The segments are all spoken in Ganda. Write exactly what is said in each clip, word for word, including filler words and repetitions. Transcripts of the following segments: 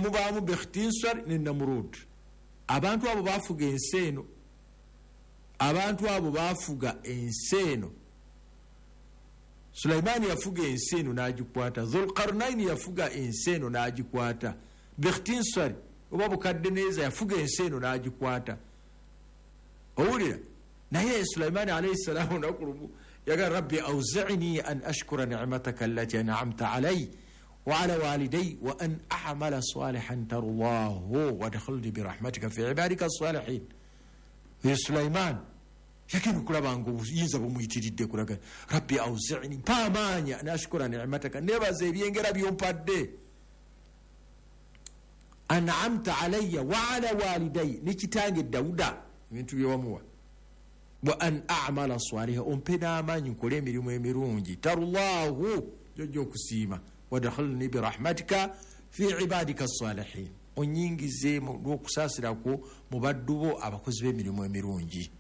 mubaamu Bekhtinsar ne Namrud. Abantu abo bafuga ensi eno, abantu abo bafuga ensi eno. Sulaimani yafuga ensi eno n'agikwata, Dhulqarnaini yafuga ensi eno n'agikwata, Bekhtinsar oba Bukaddeneeza yafuga ensi eno n'agikwata. Owulira? Naye Sulaimani alayhi salaamu olunaku lumu yagamba rabbi awzi'ni an ashkura ni'mataka allati an'amta alayya wa ala walidayya wa an a'mala salihan tardahu wadkhilni birahmatika fi ibadika as-salihin. Ye Sulaiman yagenda okulaba nga obuyinza bumuyitiridde kulaga rabbi awzi'ni, mpa amaanyi an ashkura ni'mataka, nebaza ebyengera byompadde, an'amta alayya wa ala walidayya, ne kitange Dawuda ebintu byewamuwa, wa an a'mala saliha, ompe n'amaanyi nkole emirimu emirungi, tarullahu, jojja okusiima, wadkhilni birahmatika fi ibadika as-salihin, onyingize n'okusaasirako mu baddu bo abakozi b'emirimu emirungi.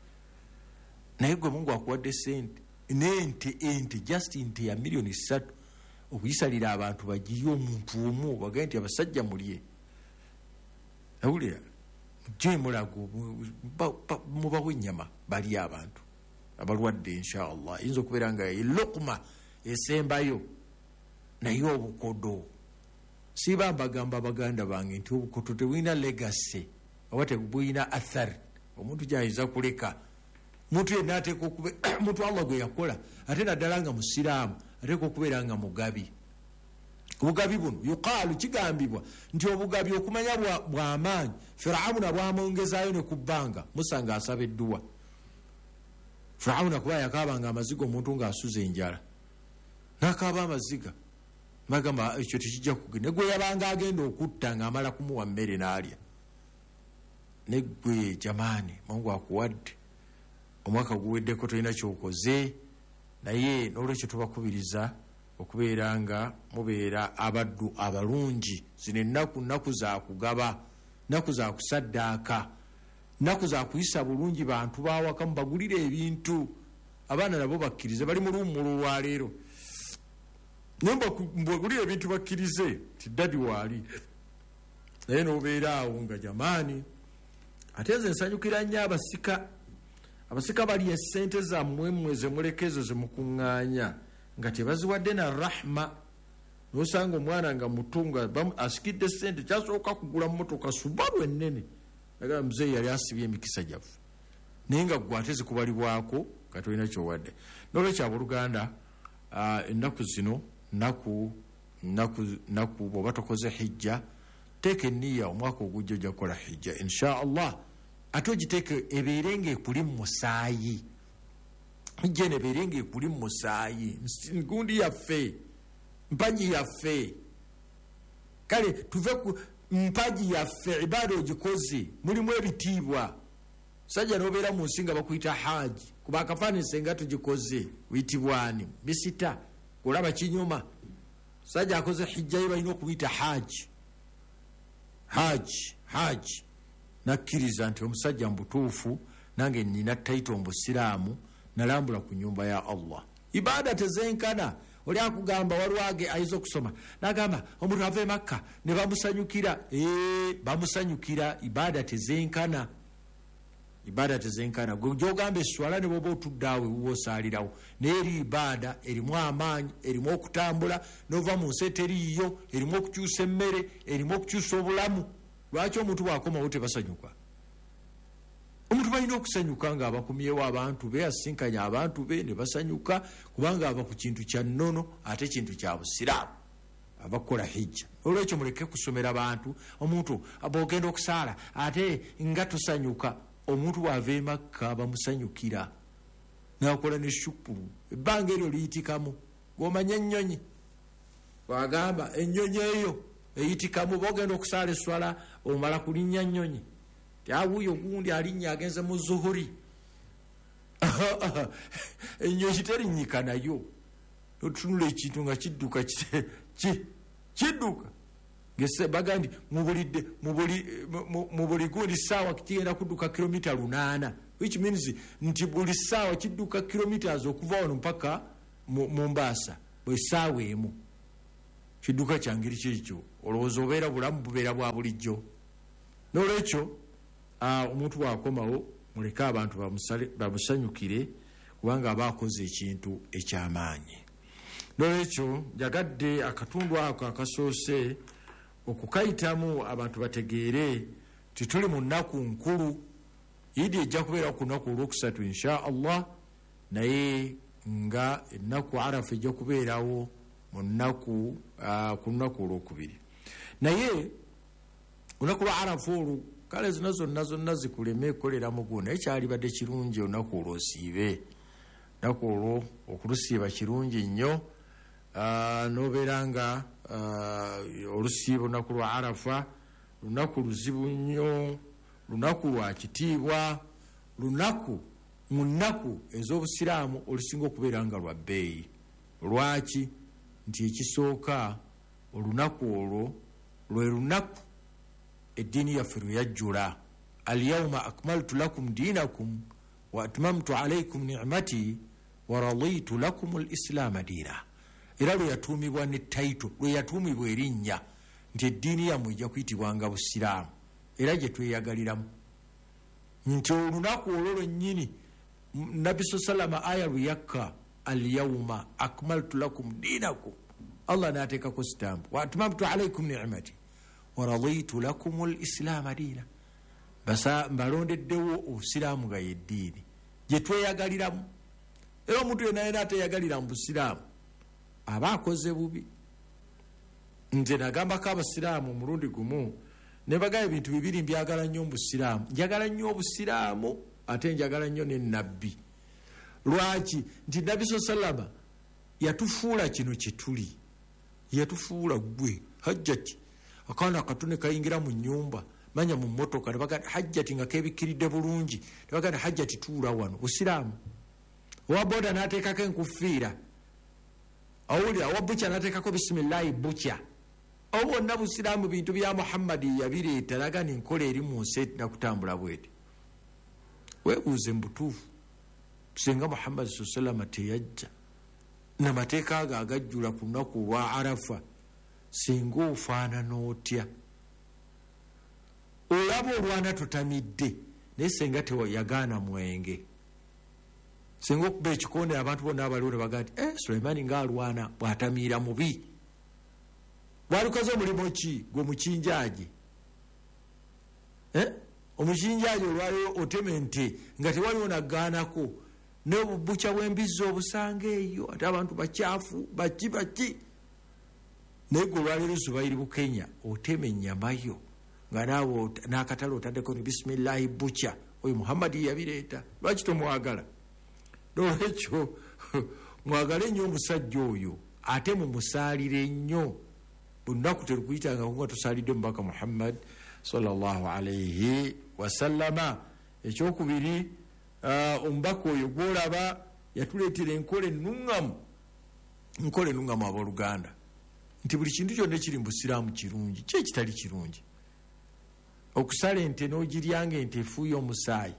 Naye gwe Mungu akuwadde sente n'ente, ente just nte ya miliyoni ssatu okuyisalira abantu bagirye omuntu omu, bagambe nti abasajja mulye. Awulira? Mujje mulago mubawe ennyama balye abantu abalwadde inshallah. Eyinza okubeera nga elukma esembayo. Naye obukodo, siba mbagamba baganda bange nti obukodo tebulina legacy oba tebulina athar omuntu gyayinza kuleka. Omuntu yenna ateekwa okube omuntu Allah gwe yakola, ate naddala nga musiraamu ateekwa okubeera nga mugabi. Obugabi buno yuqaalu, kigambibwa nti obugabi okumanya bw'amaanyi Firawuna bwamwongezaayo ne ku bbanga Musa ng'asaba edduwa. Firawuna kuba yakaabanga amaziga omuntu ng'asuza enjala, n'akaaba amaziga bagamba ekyo tekijja kugenda. Ne gwe yabanga agenda okutta ng'amala kumuwa mmere n'alya. Ne gwe jamaani Mungu akuwadde omwaka guweddeko tolina ky'okoze, naye n'olwekyo tubakubiriza okubeera nga mubeera abaddu abalungi. Zino ennaku nnaku za kugaba, nnaku za kusaddaaka, nnaku za kuyisa bulungi bantu bawaka, mubagulire ebintu. Abaana nabo bakkirize, bali mu luwummulo olwaleero, naye mbagulire ebintu bakkirize nti ddadi waali. Naye n'obeera awo nga jamaani. Ate nze nsanyukira nnyo abasika. Abasika balya essente zammwe mmwe ze muleka ezo ze mukuŋŋaanya nga tebaziwadde na rahma. Nosanga omwana nga muto nga asikidde ssente, kyasooka kugula mmotoka Subaru ennene, agamba muzeeyi yali asibye emikisa gyaffe, naye nga ggwe ate zikubalibwako nga tolina ky'owadde. N'olwekyo abooluganda, ennaku zino nnaku nnaku nnaku bw'oba tokoze hijja, teeka enniya omwaka ogujja ojja kukola hijja insha Allah. Ate ogiteeke ebeere ng'ekuli mu musaayi, hijja eno ebeere ng'ekuli mu musaayi, gundi yaffe, mpagi yaffe. Kale tuve ku mpagi yaffe, ibaada ogikoze mulimu ebitiibwa. Sajja n'obeera mu nsi nga bakuyita haaji, kuba akafaananyi senga tugikoze wiyitibwani misita, olaba kinyuma. Sajja akoze hijja ye balina okuyita haaji, haaji, haaji. Nakkiriza nti omusajja mubutuufu nange nina tayito mbusiraamu, nalambula ku nyumba ya Allah. Ibaada tezenkana. Oli akugamba waliwo ayinza okusoma n'agamba omuntu ava e Makka ne bamusanyukira. Ee, bamusanyukira. Ibaada tezenkana, ibaada tezenkana. Gwe gy'ogamba esswala ne bw'oba otudde awo ewuwo osaalirawo, naye eri ibaada erimu amaanyi, erimu okutambula n'ova mu nsi eteriiyo, erimu okukyusa emmere, erimu okukyusa obulamu. Lwaki omuntu bw'akomawo tebasanyuka? Omuntu balina okusanyuka nga abakumyewo abantu be, asinkanya abantu be ne basanyuka, kubanga ava ku kintu kya nnono ate kintu kya busiraamu, ava kukola hijja. Olwekyo muleke kusomera bantu omuntu bw'ogenda okusaala ate nga tosanyuka. Omuntu bw'ava e Makka bamusanyukira n'akola ne shukuru, ebbanga eryo liyitikamu. Gw'omanya ennyonyi, bw'agamba ennyonyi eyo eyitikamu, bw'ogenda okusaala esswala omala kulinnya nnyonyi, awuyo gundi alinnya agenze mu zuhuri, ennyonyi terinnyika nayo. Otunula ekintu nga kidduka, kidduka baga nti mu buli gundi ssaawa kigenda kudduka kilomita lunaana, which means nti buli ssaawa kidduka kilometers okuva wano mpaka Mombasa bwe ssaawa emu. Kidduka kya ngeri kyekyo Olowooza obeera bulamu bubeera bwa bulijjo. N'olwekyo omuntu bw'akomawo muleke abantu bamusanyukire, kubanga aba akoze ekintu eky'amaanyi. N'olwekyo njagadde akatundu ako akasoose okukayitamu abantu bategeere nti tuli mu nnaku nkulu. Idi ejja kubeera ku lunaku olwokusatu insha Allah, naye nga ennaku Arafa ejja kubeerawo mu nnaku ku lunaku olwokubiri. Naye olunaku lwa Arafa olwo kale zino zonna zonna zikuleme kukolera mugu, naye kyalibadde kirungi olunaku olwo osiibe. Olunaku olwo okulusiiba kirungi nnyo, n'obeera nga olusiiba olunaku lwa Arafa lunaku luzibu nnyo, lunaku lwa kitiibwa, lunaku mu nnaku ez'obusiraamu olusinga okubeera nga lwa bbeeyi. Lwaki? Nti ekisooka olunaku olwo lwe lunaku eddiini yaffe lwe yajjula. Alyawma akmaltu lakum diinakum wa atmamtu alaykum ni'mati wa raditu lakum al-islaama diina. Era lwe yatuumibwa ne tayito, lwe yatuumibwa erinnya nti eddiini yammwe ejja kuyitibwanga busiraamu, era gye tweyagaliramu. Nti olunaku olwo lwennyini Nabbi sallama aya lwe yakka, alyawma akmaltu lakum diinakum, Allah n'ateekako sitampu, wa atmamtu alaykum ni'mati wa raditu lakum al-islaama diina. Basa mbalondeddewo obusiraamu nga yeddiini gye tweyagaliramu. Era omuntu yenna yenna ateeyagalira mu busiraamu aba akoze bubi. Nze nagambako abasiraamu omulundi gumu ne bagamba ebintu bibiri mbyagala nnyo mu busiraamu. Njagala nnyo obusiraamu ate njagala nnyo ne nabbi. Lwaki? Nti Nabbi sallama yatufuula kino kye tuli, yatufuula gwe hajjati. Akaana akatone kayingira mu nnyumba, manya mu mmotoka, ne bagamba hajjati nga keebikkiridde bulungi, ne bagamba hajjati tuula wano. Busiraamu. Owa boda n'ateekako enkufiira, awulira owa bukya n'ateekako bisimillahi bukya. Obwo bwonna busiraamu, bintu bya Muhammadi yabireeta, laga ni nkola eri mu nsi nakutambula bweti. Weebuuze mu butuufu, singa Muhammadi sallama teyajja n'amateeka ago agajjula ku lunaku olwa Arafa, singa ofaanana otya? Olaba olwana totamidde, naye singa teyagaana mwenge, singa okuba ekikonde abantu bonna abaliwo ne bagamba nti eh, Sulaimaani ng'alwana bw'atamiira mubi. Walikoze omulimu ki gwe mukinjaaji? Eh? Omukinjaaji olwaleero otema ente nga tewaliwo nagaanako, n'obubukya bw'embizzi obusanga eyo, ate abantu bakyafu baki baki. Naye gwe olwaleero Zubairi Bukenya otema ennyama yo nga naawe n'akatale otaddeko ni bisimillahi bukya, oyo Muhammadi yabireeta. Lwaki tomwagala? N'olwekyo mwagale nnyo omusajja oyo, ate mumusaalire nnyo. Olunaku terukuyitangako nga tusaalidde omubaka Muhammad sallallahu alayhi wasallama. Ekyokubiri, omubaka oyo gw'olaba yatuleetera enkola ennuŋŋamu, enkola ennuŋŋamu abooluganda, nti buli kintu kyonna ekiri mu busiraamu kirungi, ki ekitali kirungi? Okusala ente n'ogirya nga ente efuuye omusaayi,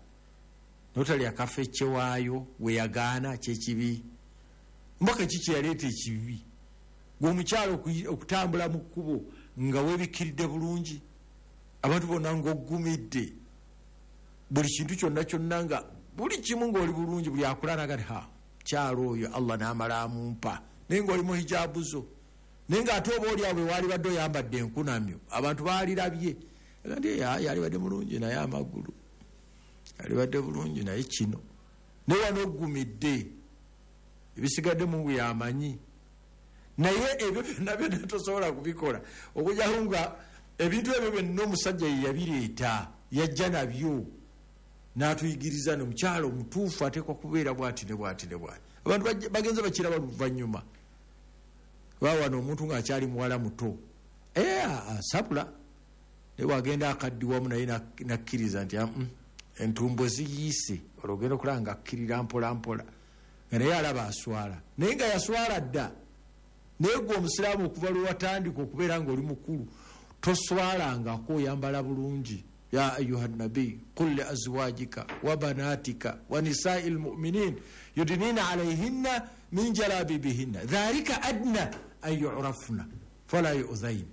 n'otalya kafecce waayo we yagaana, kyekibi. Omubaka ki kye yaleeta ekibi? Gwe omukyala okutambula mu kkubo nga weebikkiridde bulungi, abantu bonna ng'oggumidde, buli kintu kyonna kyonna nga buli kimu ng'oli bulungi, buli akulanaga nti ha kyalo oyo Allah n'amala amumpa, naye ng'oli mu hijaabu zo, naye ng'ate oba oli awo bwe waalibadde oyambadde enkunamyo abantu baalirabye nti yalibadde mulungi naye amagulu yalibadde bulungi naye kino, naye wano oggumidde, ebisigadde Mungu yamanyi. Naye ebyo byonna byonna tosobola kubikola okujjako nga ebintu ebyo byonna omusajja ye yabireeta, yajja nabyo n'atuyigiriza. N'omukyala omutuufu ateekwa kubeera bw'ati ne bw'ati ne bw'ati. Abantu bagenze bakiraba luvannyuma. Wano omuntu ng'akyali muwala muto asabula, naye bw'agenda akaddiwamu naye nakkiriza nti entumbo ziyiise, olwo ogenda okulaba nga akkirira mpola mpola, nga naye alaba aswala, naye nga yaswala dda. Naye gwe omusiraamu okuva lwe watandika okubeera ng'oli mukulu toswalangako, oyambala bulungi. Ya ayuha nabi qul li azwajika wa banatika wa nisai lmuminin yudnina alayhinna min jalabibihinna dhalika adna an yurafna fala yuzain.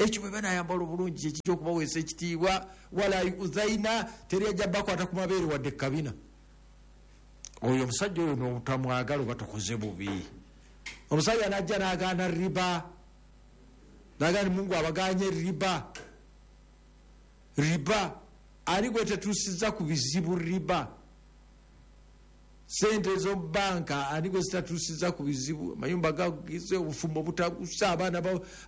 Ekyo bwe banayambala obulungi kyekijja okubaweesa ekitiibwa. Wala yuzaina, teri ajja bakwata ku mabeere wadde kabina. Oyo omusajja oyo n'obutamwagala oba tokoze bubi. Omusajja n'ajja n'agaana riba, n'agaana Mungu abaganye riba. Riba ani gwe tetuusizza ku bizibu? Riba, sente ez'omubanka ani gwe zitatuusizza ku bizibu? Amayumba gagize, obufumbo butagusa, abaana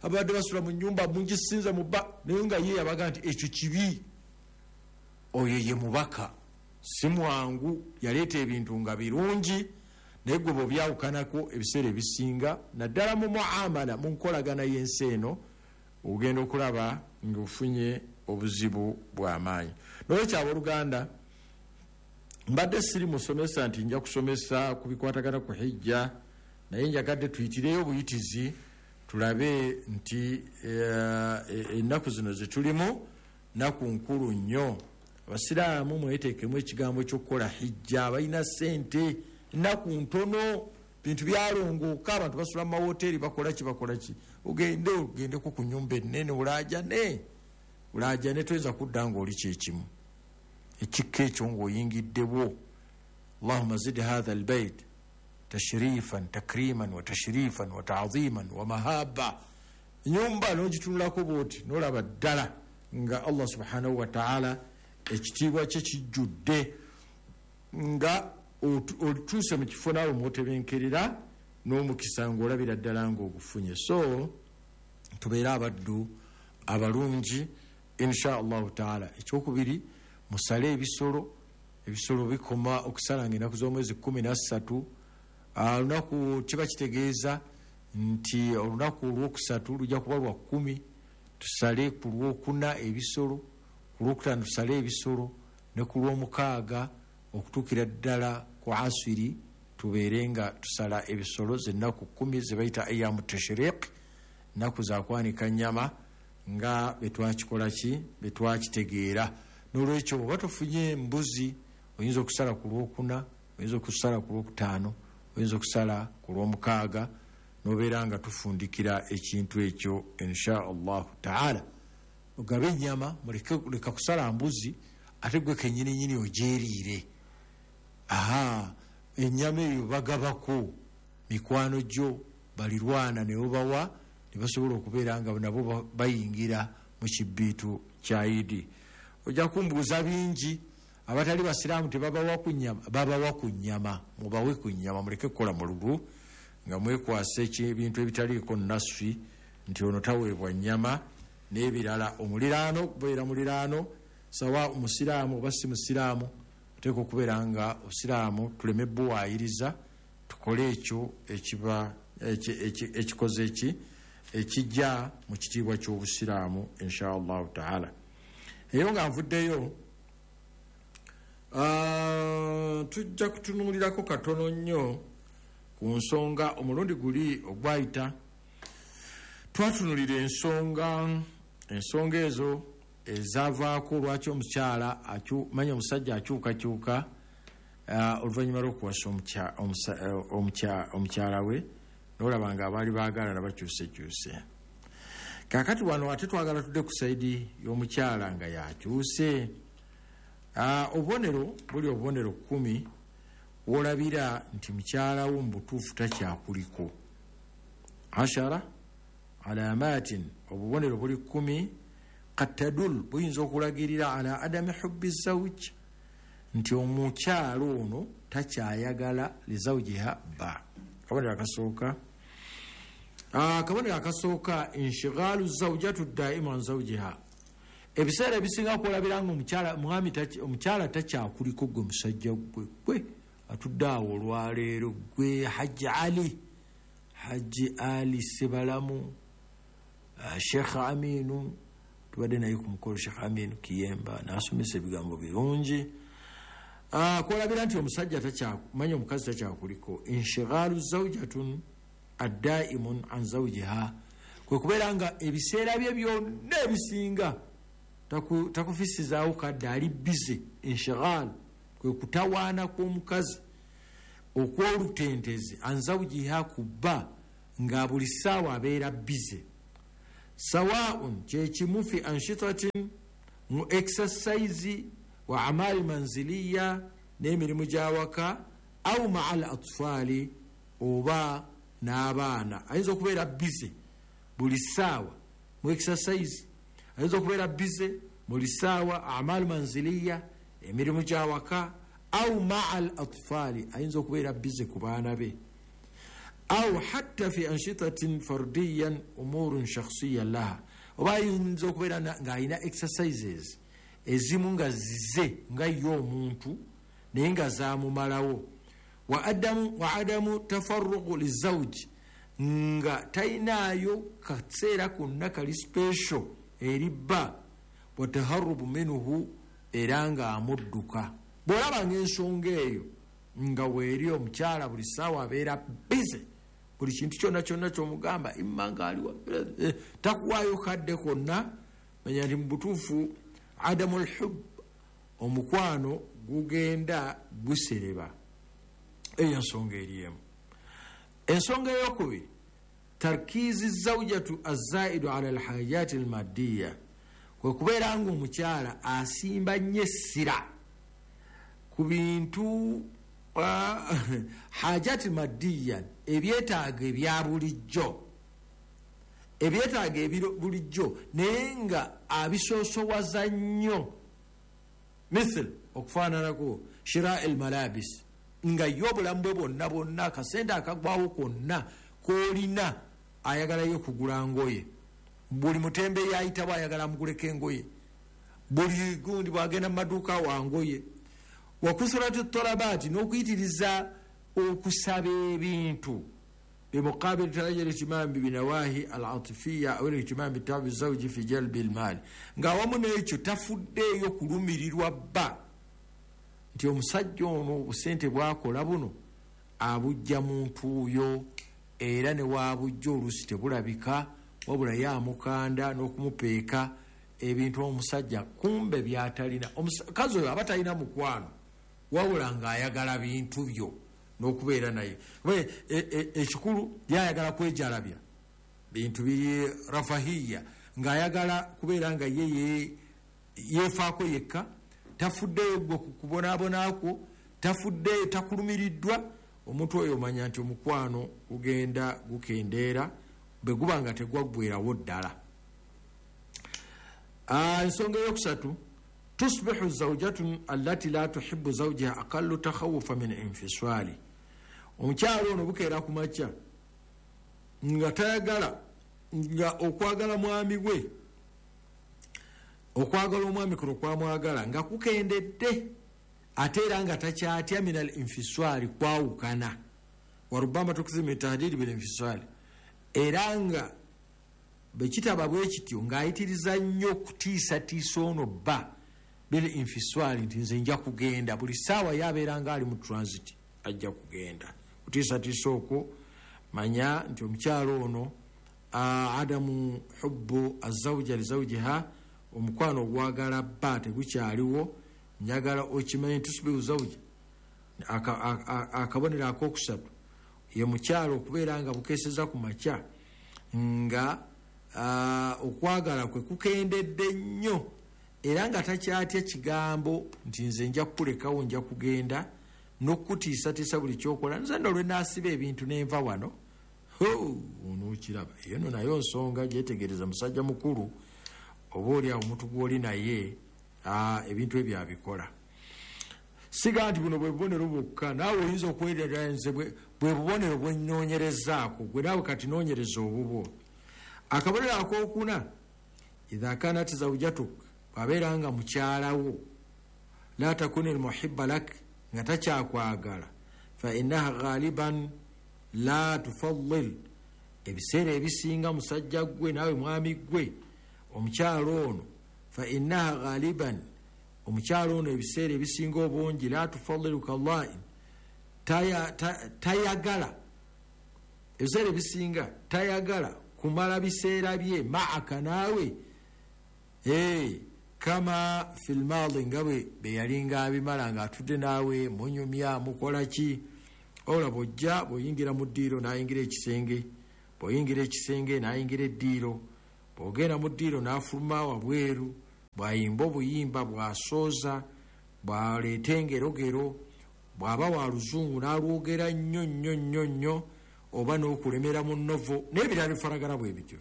abadde basula mu nnyumba mungisinze mu bba, naye nga ye yabaga nti ekyo kibi. Oyo ye mubaka, si mwangu, yaleeta ebintu nga birungi, naye gwe bw'obyawukanako ebiseera ebisinga, naddala mu muamala, mu nkolagana y'ensi eno, ogenda okulaba ng'ofunye obuzibu bw'amaanyi. N'olwekyo abooluganda, mbadde siri musomesa nti nja kusomesa ku bikwatagana ku hijja, naye njagadde tuyitireyo obuyitizi tulabe nti ennaku zino ze tulimu nnaku nkulu nnyo. Abasiraamu mweteekemu ekigambo ky'okukola hijja, balina ssente, ennaku ntono, bintu byalongooka, abantu basula mu mawoteeri, bakola ki bakola ki. Ogende ogendeko ku nnyumba ennene olaajane, olaajane, toyinza kudda ng'oli kyekimu. Ekikka ekyo ng'oyingiddewo. Allahumma zid hatha albayt tashrifan takriman wa tashrifan wa ta'ziman wa mahaba. Ennyumba n'ogitunulako bw'oti n'olaba ddala nga Allah subhanahu wa ta'ala ekitiibwa kye kijjudde, nga otuuse mu kifo naawe mw'otebenkerera n'omukisa ng'olabira ddala ng'ogufunye. So tubeere abaddu abalungi insha Allahu taala. Ekyokubiri, musale ebisolo. Ebisolo bikoma okusala ng'ennaku z'omwezi kkumi na ssatu. Olunaku kiba kitegeeza nti olunaku olwokusatu lujja kuba lwa kkumi. Tusale ku lwokuna ebisolo, ku lwokutaano tusale ebisolo, ne ku lwomukaaga okutuukira ddala ku asiri tubeere nga tusala ebisolo. Zennaku kkumi ze bayita ayamu tashriq, nnaku za kwanika nnyama nga betwakikola ki, betwakitegeera. N'olwekyo bw'oba tofunye mbuzi, oyinza okusala ku lwokuna, oyinza okusala ku lwokutaano, oyinza okusala ku lwomukaaga, n'obeera nga tufundikira ekintu ekyo insha Allahu taala. Ogabe ennyama, muleke leka kusala mbuzi, ate gwe kennyininyini ogyeriire. Aha, ennyama eyo bagabako mikwano gyo, balirwana ne babawa, ne basobola okubeera nga nabo bayingira mu kibbiitu kya Idi. Ojja kumbuuza bingi, abatali basiraamu tebabawa ku nnyama, babawa ku nnyama, mubawe ku nnyama, muleke kukola mululu nga mwekwasa ebintu ebitaliiko naswi nti ono taweebwa nnyama n'ebirala. Omuliraano kubeera muliraano, sawa omusiraamu oba si musiraamu, oteekwa okubeera nga obusiraamu tuleme buwaayiriza, tukole ekyo ekiba ekikoze eki ekijja mu kitiibwa ky'obusiraamu insha Allahu taala. Eyo nga nvuddeyo, tujja kutunuulirako katono nnyo ku nsonga. Omulundi guli ogwayita twatunulira ensonga, ensonga ezo ezaavaako lwaki omukyala manya omusajja akyukakyuka oluvannyuma lw'okuwasa omukyala we, n'olaba nga abaali baagalana bakyusekyuse. Kaakati wano ate twagala tudde ku sayidi y'omukyala nga yakyuse. Obubonero buli obubonero kkumi w'olabira nti mukyala wo mu butuufu takyakuliko. Ashara alamatin, obubonero buli kkumi. Qad tadul, buyinza okulagirira ala adami hubbi zawj, nti omukyala ono takyayagala lizawjiha bba. Kabonero akasooka, akabonero akasooka inshighalu zawjatu daimu an zawjiha. Ebiseera ebisinga kulabira nga omukyala mwami omukyala takyakuliko gwe musajja gwe gwe atudde awo olwaleero gwe Hajji Ali, Hajji Ali Sebalamu, Sheikh Aminu, tubadde naye ku mukolo Sheikh Aminu Kiyemba n'asomesa ebigambo birungi. Kwolabira nti omusajja takyamanya omukazi takyakuliko. Inshighalu zawjatun addaimun an zawjiha, kwe kubeera nga ebiseera bye byonna ebisinga takufisizaawo kadde, ali bize. Inshighal kwe kutawaana kw'omukazi okw'olutentezi, an zawjiha, ku bba nga buli ssaawa abeera bize. Sawaun kyekimu fi anshitatin mu exercise wa amali manziliya n'emirimu gy'awaka, au maa al atfali oba n'abaana. Ayinza okubeera bize buli ssaawa mu exercise, ayinza okubeera bize buli ssaawa amali manziliya emirimu gy'awaka, au maa al atfali ayinza okubeera bize ku baana be, au hatta fi anshitatin fardiyan umurun shakhsiya laha, oba ayinza okubeera ng'alina exercises ezimu nga zize nga ye omuntu naye nga zaamumalawo. Wa adamu, wa adamu tafarruqu lizawji, nga talinaayo kaseera konna kali special eri bba, wa taharrubu minhu era ng'amudduka. Bw'olaba ng'ensonga eyo nga weeri omukyala buli ssaawa abeera bize buli kintu kyonna kyonna ky'omugamba imma ng'aliwa takuwaayo kadde konna, manya nti mu butuufu adamu lhub omukwano gugenda gusereba. Eyo ensonga eri emu. Ensonga eyokubiri, tarkiizi zawjatu azaidu ala alhajati almaddiya, kwe kubeera nga omukyala asimba nnyo essira ku bintu hajati maddiya, ebyetaago ebya bulijjo, ebyetaago ebya bulijjo naye nga abisoosowaza nnyo. Mithil okufaananako shira el malabis, nga ye obulamu bwe bwonna bwonna akasente akagwawo konna k'olina ayagalayo kugula ngoye, buli mutembe yayitabo ayagala amuguleko engoye, buli gundi bwagenda mu maduuka wa ngoye. Wakusurati talabaati, n'okuyitiriza okusaba ebintu bimuqabili tarajja ihtimam binawahi al-atifiya aw ihtimam bitabi zawji fi jalbi al-mal, nga wamu n'ekyo tafuddeeyo kulumirirwa bba nti omusajja ono obusente bwakola buno abujja mu ntuuyo, era ne waabujja oluusi tebulabika, wabula ye amukanda n'okumupeeka ebintu omusajja kumbe byatalina. Omukazi oyo aba talina mukwano, wabula ng'ayagala bintu byo n'okubeera naye. Ekikulu yayagala kwejalabya bintu biri rafahiya, ng'ayagala kubeera nga ye yeefaako yekka, tafuddeeyo gwe ku kubonaabonakwo, tafuddeeyo, takulumiriddwa. Omuntu oyo omanya nti omukwano gugenda gukendeera bwe guba nga tegwaggwerawo ddala. Ensonga eyokusatu, tusbihu zawjatun allati la tuhibbu zawjaha aqallu takhawufa min infisali. Omukyala ono bukeera ku makya nga tayagala, nga okwagala mwami we, okwagala omwami kuno kwamwagala nga kukendedde, ate era nga takyatya min al infisali, kwawukana. Warubama tukzimu min tahdidi bil infisali, era nga bwe kitaba bwe kityo ng'ayitiriza nnyo okutiisatiisa ono bba bil infisali, nti nze nja kugenda, buli ssaawa yabeera nga ali mu transit ajja kugenda. Kutiisatiisa okwo manya nti omukyala ono adamu hubbu azawja lizawjiha, omukwano ogwagala bba tegukyaliwo. Njagala okimanye tusubiru zawja, akabonero akokusatu ye mukyala okubeera nga bukeeseza ku makya nga okwagala kwe kukendedde nnyo, era nga takyatya kigambo nti nze nja kukulekawo nja kugenda, n'okutiisatiisa buli kyokola, nze nno lwe naasiba ebintu nenva wano onookiraba. Eyo nno nayo nsonga gyetegereza musajja mukulu, oba oli awo omuntu gw'oli naye ebintu ebyo abikola. Siga nti buno bwe bubonero bwokka, naawe oyinza okwerera nze bwe bubonero bwe nnoonyerezaako, gwe naawe kati noonyereza obubwo. Akabonero akookuna, idha kanat zawjatuk, bw'abeera nga mukyalawo, la takuni almuhibba lak, nga takyakwagala, fa innaha ghaliban la tufaddil, ebiseera ebisinga musajja gwe naawe mwami gwe omukyala ono, fa innaha ghaliban, omukyala ono ebiseera ebisinga obungi, la tufaddilu kallain, tayagala ebiseera ebisinga tayagala kumala biseera bye maaka naawe kama fil maadi, nga bwe yalinga abimala ng'atudde naawe munyumya mukola ki. Olaba bw'ojja bw'oyingira mu ddiiro n'ayingira ekisenge, bw'oyingira ekisenge n'ayingira eddiiro, Bw'ogenda mu ddiiro n'afuluma wabweru, bw'ayimba obuyimba, bw'asooza, bw'aleeta engerogero, bw'aba wa luzungu n'alwogera nnyo nnyo nnyo nnyo, oba n'okulemera mu nnovo n'ebirala bifaanagana bwe bityo,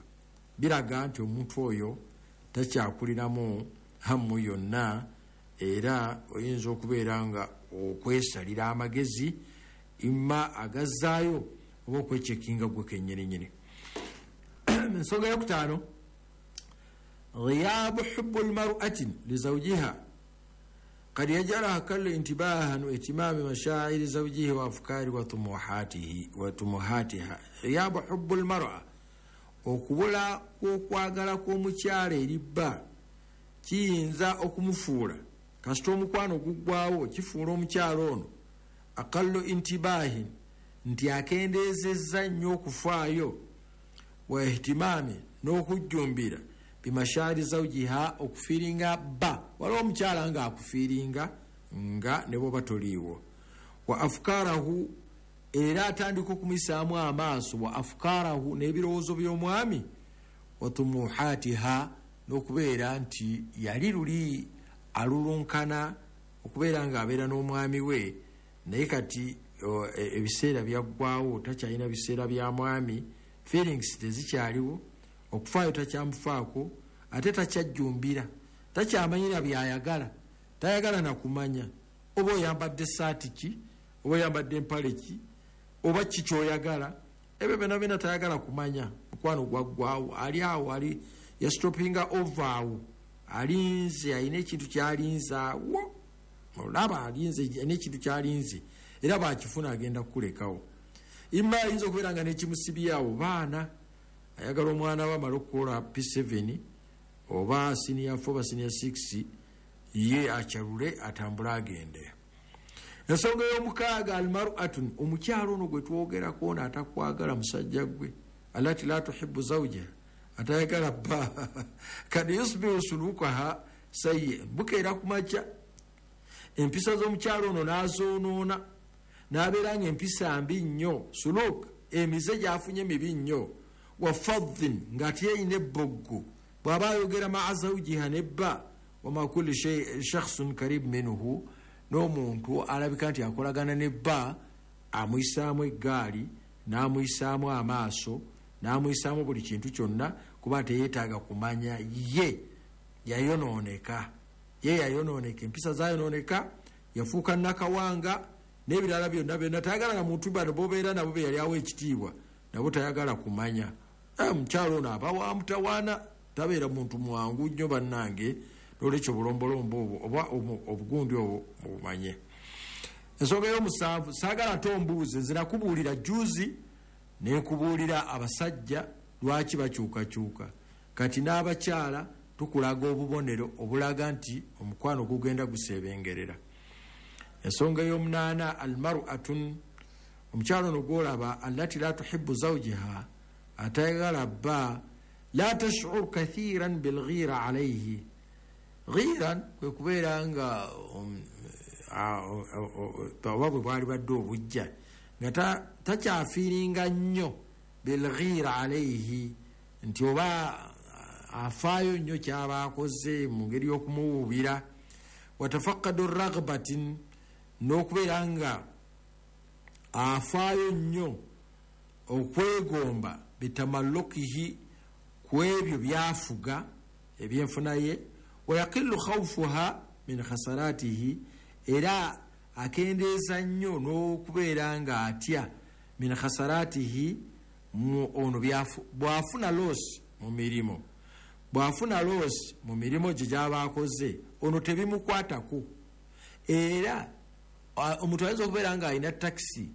biraga nti omuntu oyo takyakuliramu hammu yonna. Era oyinza okubeera nga okwesalira amagezi imma agazzaayo oba okwechekinga gwe kennyininyini. Ensonga yokutaano, ghiyabu hubbu lmar'ati lizawjiha kad yajalaha kalla intibahan wa ihtimami mashairi zawjihi wa afkari wa tumuhatihi wa tumuhatiha. Ghiyabu hubbu lmar'a, okubula kw'okwagala kw'omukyala eri bba kiyinza okumufuula kasita omukwano guggwawo, kifuula omukyala ono aqallu intibahin, nti akendeezezza nnyo okufaayo, wa ihtimami, n'okujjumbira, bimashaari zawjiha, okufiiringa bba. Waliwo omukyala nga akufiiringa nga ne bwoba toliiwo. Wa afukarahu, era atandika okumuyisaamu amaaso, wa afukarahu, n'ebirowoozo by'omwami, wa tumuhatiha, n'okubeera nti yali luli alulunkana okubeera nga abeera n'omwami we, naye kati ebiseera byaggwawo, takyalina biseera bya mwami, feelings tezikyaliwo, okufaayo takyamufaako, ate takyajjumbira, takyamanyira byayagala, tayagala na kumanya oba oyambadde saati ki, oba oyambadde empale ki, oba ki kyoyagala, ebyo byonna byonna tayagala kumanya. Mukwano gwaggwawo, ali awo, ali yastopinga over awo, alinze, alina ekintu kyalinze awo, olaba alinze, alina ekintu kyalinze, era bwakifuna agenda kukulekawo. Imma ayinza okubeera nga n'ekimusibyawo baana, ayagala omwana we amale okukola P seven oba senior four oba senior six, ye akyalule atambule agende. Ensonga ey'omukaaga, almar'atun, omukyala ono gwe twogerako ono atakwagala musajja gwe, alati la tuhibbu zawjaha, atayagala bba, kad yusbihu sulukaha sayyi, bukeera ku makya empisa z'omukyala ono n'azoonoona, n'abeera nga empisa mbi nnyo, suluk, emize gy'afunye mibi nnyo, wa fadhin, ng'ate yeyina ebboggo bw'aba ayogera maa zawjiha ne bba, wama kulli shakhsun karib minhu, n'omuntu alabika nti akolagana ne bba, amuyisaamu eggaali, n'amuyisaamu amaaso, n'amuyisaamu buli kintu kyonna, kuba teyeetaaga kumanya ye yayonooneka, ye yayonooneka, empisa zayonooneka, yafuuka nakawanga n'ebirala byonna byonna. Tayagala na muntu bano bobeera nabo be yali awa ekitiibwa, nabo tayagala kumanya. Omukyala ono aba wa mutawaana, tabeera muntu mwangu nnyo bannange, n'olwekyo obulombolombo obwo oba obugundi obwo mubumanye. Ensonga ey'omusanvu, saagala tombuuze, nze nakubuulira jjuuzi ne nkubuulira abasajja lwaki bakyukakyuka, kati n'abakyala tukulaga obubonero obulaga nti omukwano gugenda guseebengerera. Ensonga ey'omunaana, almar'atun, omukyala ono gw'olaba allati la tuhibbu zawjiha, atayagala bba, la tash'ur kathiran bilghira alayhi. Ghiran kwe kubeera nga oba bwe bwali badde obujja, nga takyafiiringa nnyo bilghira alayhi, nti oba afaayo nnyo kyaba akoze mu ngeri y'okumuwuubira. Watafakadu raghbatin, n'okubeera nga afaayo nnyo okwegomba bitamallukihi, ku ebyo byafuga ebyenfuna ye. Wayaqillu khawfuha min khasaratihi, era akendeeza nnyo n'okubeera nga atya min khasaratihi, ono bw'afuna loss mu mirimu, bw'afuna loss mu mirimu gye gy'aba akoze, ono tebimukwatako. Era omuntu ayinza okubeera nga alina takisi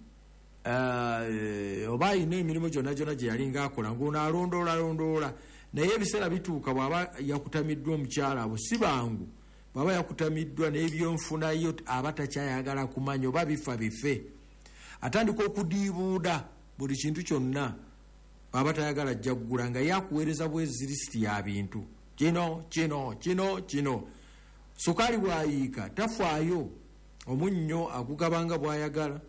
oba alina emirimu gyonna gyonna gye yalinga akola, ng'ono alondoola alondoola, naye ebiseera bituuka bw'aba yakutamiddwa omukyala abo si bangu, bw'aba yakutamiddwa n'ebyenfunayo aba takyayagala kumanya oba bifa bife, atandika okudiibuuda buli kintu kyonna bw'aba tayagala ajja kugula, nga yakuweereza bwezi lisiti ya bintu kino kino kino kino. Sukaali bw'ayiika tafaayo, omunnyo agugabanga bw'ayagala,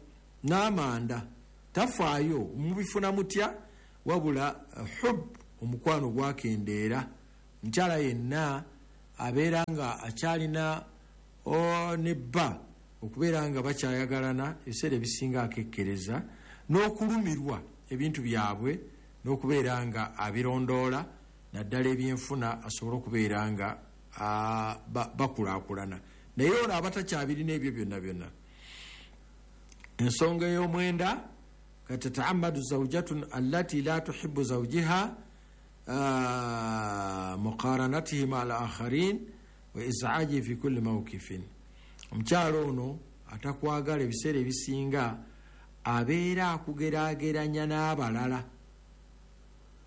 n'amanda tafaayo, mubifuna mutya, wabula hub, omukwano gwakendeera. Mukyala yenna abeera nga akyalina ne bba okubeera nga bakyayagalana, ebiseera ebisinga akekkereza n'okulumirwa ebintu byabwe n'okubeera nga abirondoola, naddala ebyenfuna, asobole okubeera nga bakulaakulana. Naye ono aba takyabirina ebyo byonna byonna. Ensonga ey'omwenda, katataamadu zawjatun allati la tuhibu zawjiha muqaranatihi ma al akharin wa izaaji fi kulli mawkifin. Omukyalo ono atakwagala ebiseera ebisinga abeera akugeraageranya n'abalala,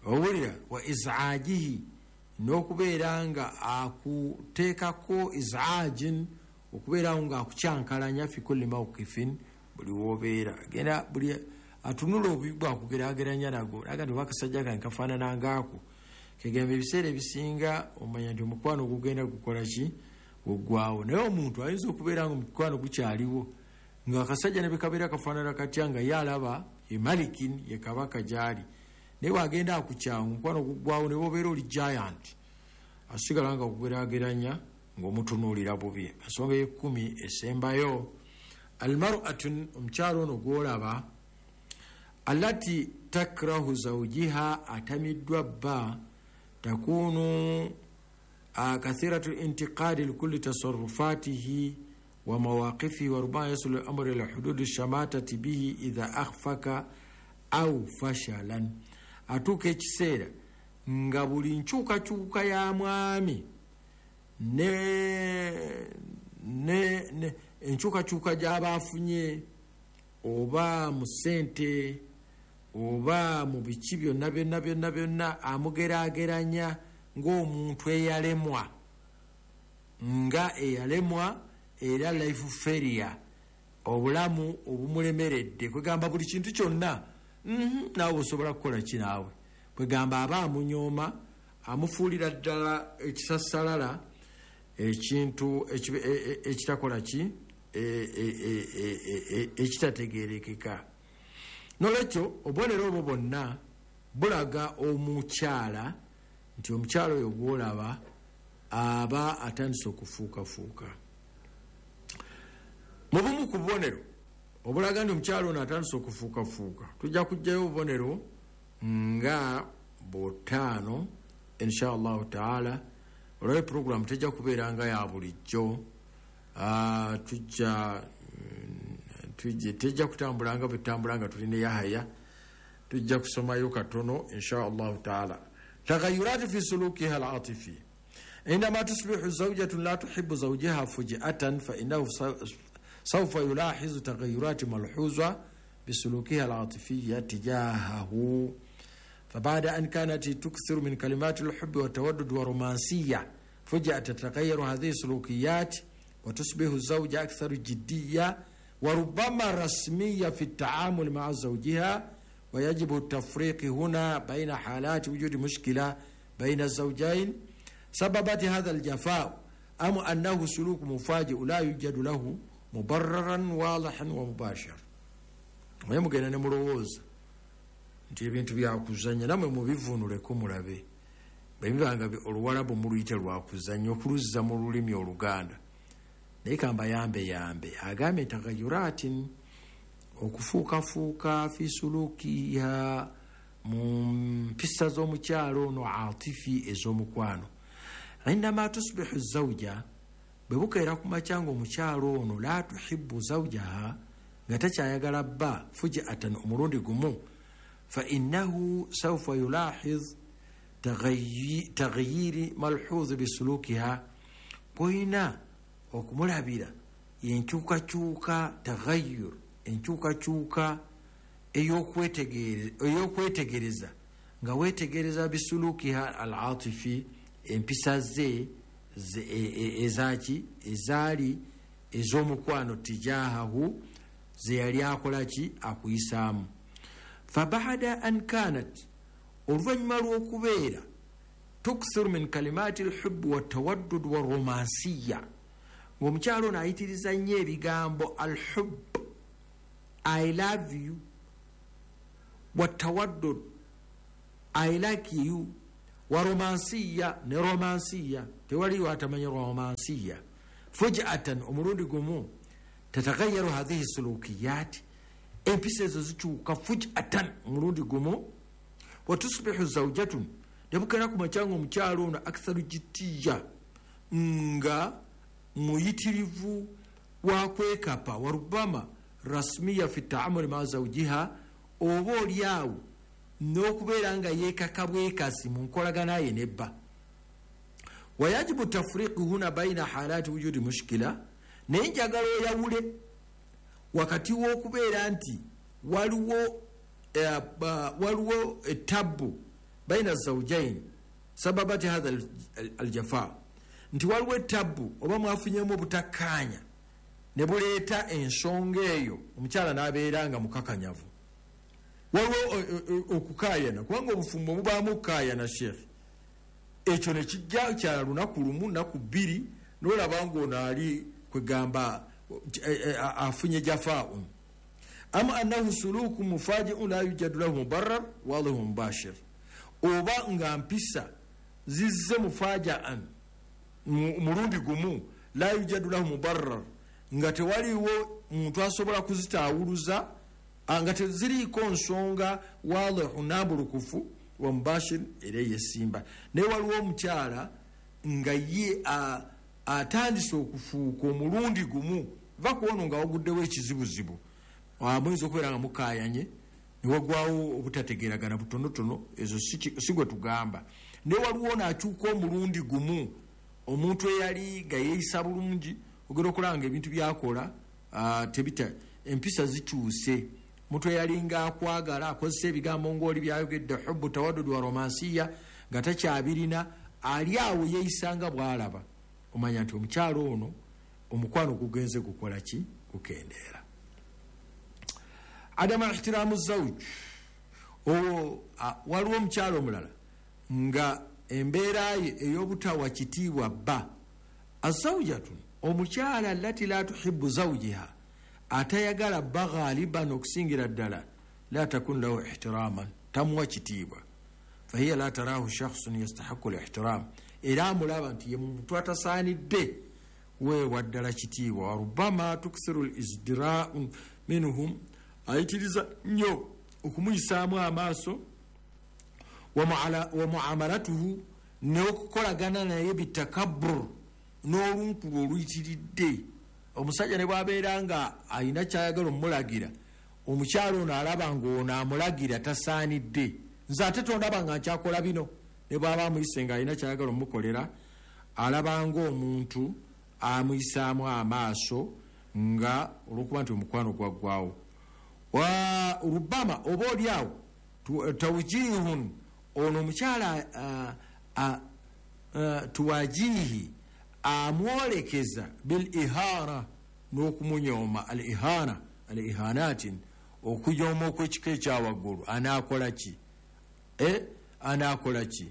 owulira, wa izaajihi, n'okubeera nga akuteekako izaajin, okubeerawo nga akukyankalanya, fi kulli mawkifin, buli wobeera genda buli atunula obubi bwakugeraageranya nago, naga nti oba akasajja kange kafaanana ngaako. Kegamba ebiseera ebisinga omanya nti omukwano gugenda gukola ki, guggwawo. Naye omuntu ayinza okubeera nga omukwano gukyaliwo, nga akasajja ne bekabeera kafaanana katya, nga ye alaba ye malikin, ye kabaka gy'ali, naye bw'agenda akukyawa omukwano guggwawo, ne bw'obeera oli giant asigala nga kugeraageranya ng'omutunuulira bubi. Ensonga y'ekkumi esembayo, almar'atu, omukyalo ono gw'olaba, allati takrahu zawjiha, atamiddwa bba, takunu kathiratu intiqadi likulli tasarrufatihi wa mawaqifihi wa rubama yasulu al-amru ila hududi shamatati bihi idha akhfaka au fashalan. Atuuka ekiseera nga buli nkyukakyuka ya mwami ne ne ne enkyukakyuka gy'aba afunye, oba mu ssente oba mu biki byonna byonna byonna byonna, amugeraageranya ng'omuntu eyalemwa, nga eyalemwa era life failure, obulamu obumulemeredde. Kwegamba buli kintu kyonna naawe osobola kukola ki naawe. Kwegamba aba amunyooma, amufuulira ddala ekisasalala, ekintu ekitakola ki, ekitategeerekeka. Nolwekyo obubonero obwo bwonna bulaga omukyala nti omukyala oyo gw'olaba aba atandise okufuukafuuka. Mu bumu ku bubonero obulaga nti omukyala ono atandise okufuukafuuka, tujja kuggyayo obubonero nga butaano insha allahu taala. Olwayo puroguramu tejja kubeera nga ya bulijjo, tujja tejja kutambula nga bwetutambula nga tuli ne Yahaya, tujja kusomayo katono insha allahu taala. Tagayurati fi sulukiha al-atifi, indama tusbihu zawjatun la tuhibbu zawjaha fuj'atan fa innahu sawfa yulahizu tagayurati malhuza bisulukiha al-atifiyya tijahahu. فبعد أن كانت تكثر من كلمات الحب والتودد والرومانسية، فجأة تتغير هذه السلوكيات وتصبح الزوجة أكثر جدية وربما رسمية في التعامل مع زوجها. ويجب التفريق هنا بين حالات وجود مشكلة بين الزوجين سببت هذا الجفاء، أم أنه سلوك مفاجئ لا يوجد له مبررا واضحا ومباشر. ويمكن أن نمروز nti ebintu byakuzannya, namwe mubivvuunuleko mulabe bwe bibanga oluwalabu muluyite lwakuzannya okuluzza mu lulimi oluganda. Naye kamba yambe yambe agambye tagayuratin, okufuukafuuka fi sulukiha, mu mpisa z'omukyalo ono atifi ez'omukwano. Indama tusbihu zawja, bwe bukeera ku makya ng'omukyalo ono la tuhibbu zawjaha, nga takyayagala bba, fuji'atan, omulundi gumu, فإنه سوف يلاحظ تغيير ملحوظ بسلوكها. قوينا okumulabira enkyukakyuka, tagayyur, enkyukakyuka ey'okwetegereza, nga weetegereza bisulukiha al-atifi, empisa ze ezaki ezaali ez'omukwano tijahahu, ze yali akola ki, akuyisaamu. Fabada an kanat, oluvannyuma lw'okubeera tukthiru min kalimati alhubbi wattawaddud waromansiya, ng'omukyalo ono ayitiriza nnyo ebigambo alhub, I love you, wattawaddud, I like you, Wa romansiya, ne romansiya, tewaliwo atamanya romansiya. Fujatan, omulundi gumu, tatagayaru hadhihi sulukiyat, empisa ezo zikyuka fujatan, omulundi gumu. Watusbihu zawjatun, nebukera ku macyanga omukyalo ono aktharu jitiya, nga muyitirivu wa kwekapa, warubama rasmiya fi taamuli ma zawjiha, oba oliawo n'okubeera nga yeekaka bwekasi mu nkolagana ye nebba. Wayajibu tafriqu huna baina halati wujudi mushkila, naye njagala oyawule wakati w'okubeera nti waliwo eh, waliwo etabbu baina zawjain sababati hadha aljafa, nti waliwo etabbu oba mwafunyemu obutakkaanya ne buleeta ensonga eyo omukyala n'abeera nga mukakanyavu. Waliwo okukaayana, kubanga obufumbo mubaamu okukaayana sheekh, ekyo ne kijja kya lunaku lumu nnaku bbiri n'olaba ng'ono ali kwegamba afunye jafaun. Ama annahu suluku mufajiun la yujadu lahu mubarrar wadhihu mubashir, oba nga mpisa zizze mufajaan mulundi gumu la yujadu lahu mubarrar, nga tewaliwo muntu asobola kuzitaawuluza, nga teziriiko nsonga wadhihu nambulukufu wa mubashir era yesimba. Naye waliwo omukyala nga ye atandise okufuuka omulundi gumu, va kuwono nga waguddewo ekizibuzibu, muyinza okubeera nga mukaayanye ne wagwawo obutategeeragana butonotono, ezo si gwe tugamba. Naye waliwo ono akyuka omulundi gumu, omuntu eyali nga yeeyisa bulungi, ogenda okulaba nga ebintu byakola tebita, empisa zikyuse. Omuntu eyali nga akwagala akozesa ebigambo ng'oli byayogedde hubbu tawaddud wa romansiya nga takyabirina, ali awo yeeyisa nga bw'alaba. Omanya nti omukyalo ono omukwano gugenze gukola ki? Gukendeera. Adama ihtiramu zawj, waliwo omukyalo omulala nga embeera ye ey'obutawa kitiibwa bba. Azawjatun, omukyala allati la tuhibbu zawjiha, atayagala bba ghaliban okusingira ddala, la takun lahu ihtiraman, tamuwa kitiibwa. Fahiya la tarahu shakhsun yastahiqu lihtiram, era amulaba nti ye muntu atasaanidde weewa ddala kitiibwa. Warubama tuksiru lisdirau minhum, ayitiriza nnyo okumuyisaamu amaaso, wa muamalatuhu, n'okukolagana naye bitakabbur, n'olunkulu oluyitiridde. Omusajja ne bw'abeera nga alina ky'ayagala omulagira, omukyalo ono alaba ng'ono amulagira tasaanidde, nze ate tondaba nga nkyakola bino. Ne bw'aba amuyise nga alina ky'ayagala omukolera, alaba ng'omuntu amuyisaamu amaaso nga olw'okuba nti omukwano gwaggwawo. Wa rubama oba oli awo tawjihun, ono omukyala tuwajihi, amwolekeza bil ihara, n'okumunyooma. Al ihana, al ihanatin, okunyooma okw'ekika ekyawaggulu. Anaakola ki? E anaakola ki?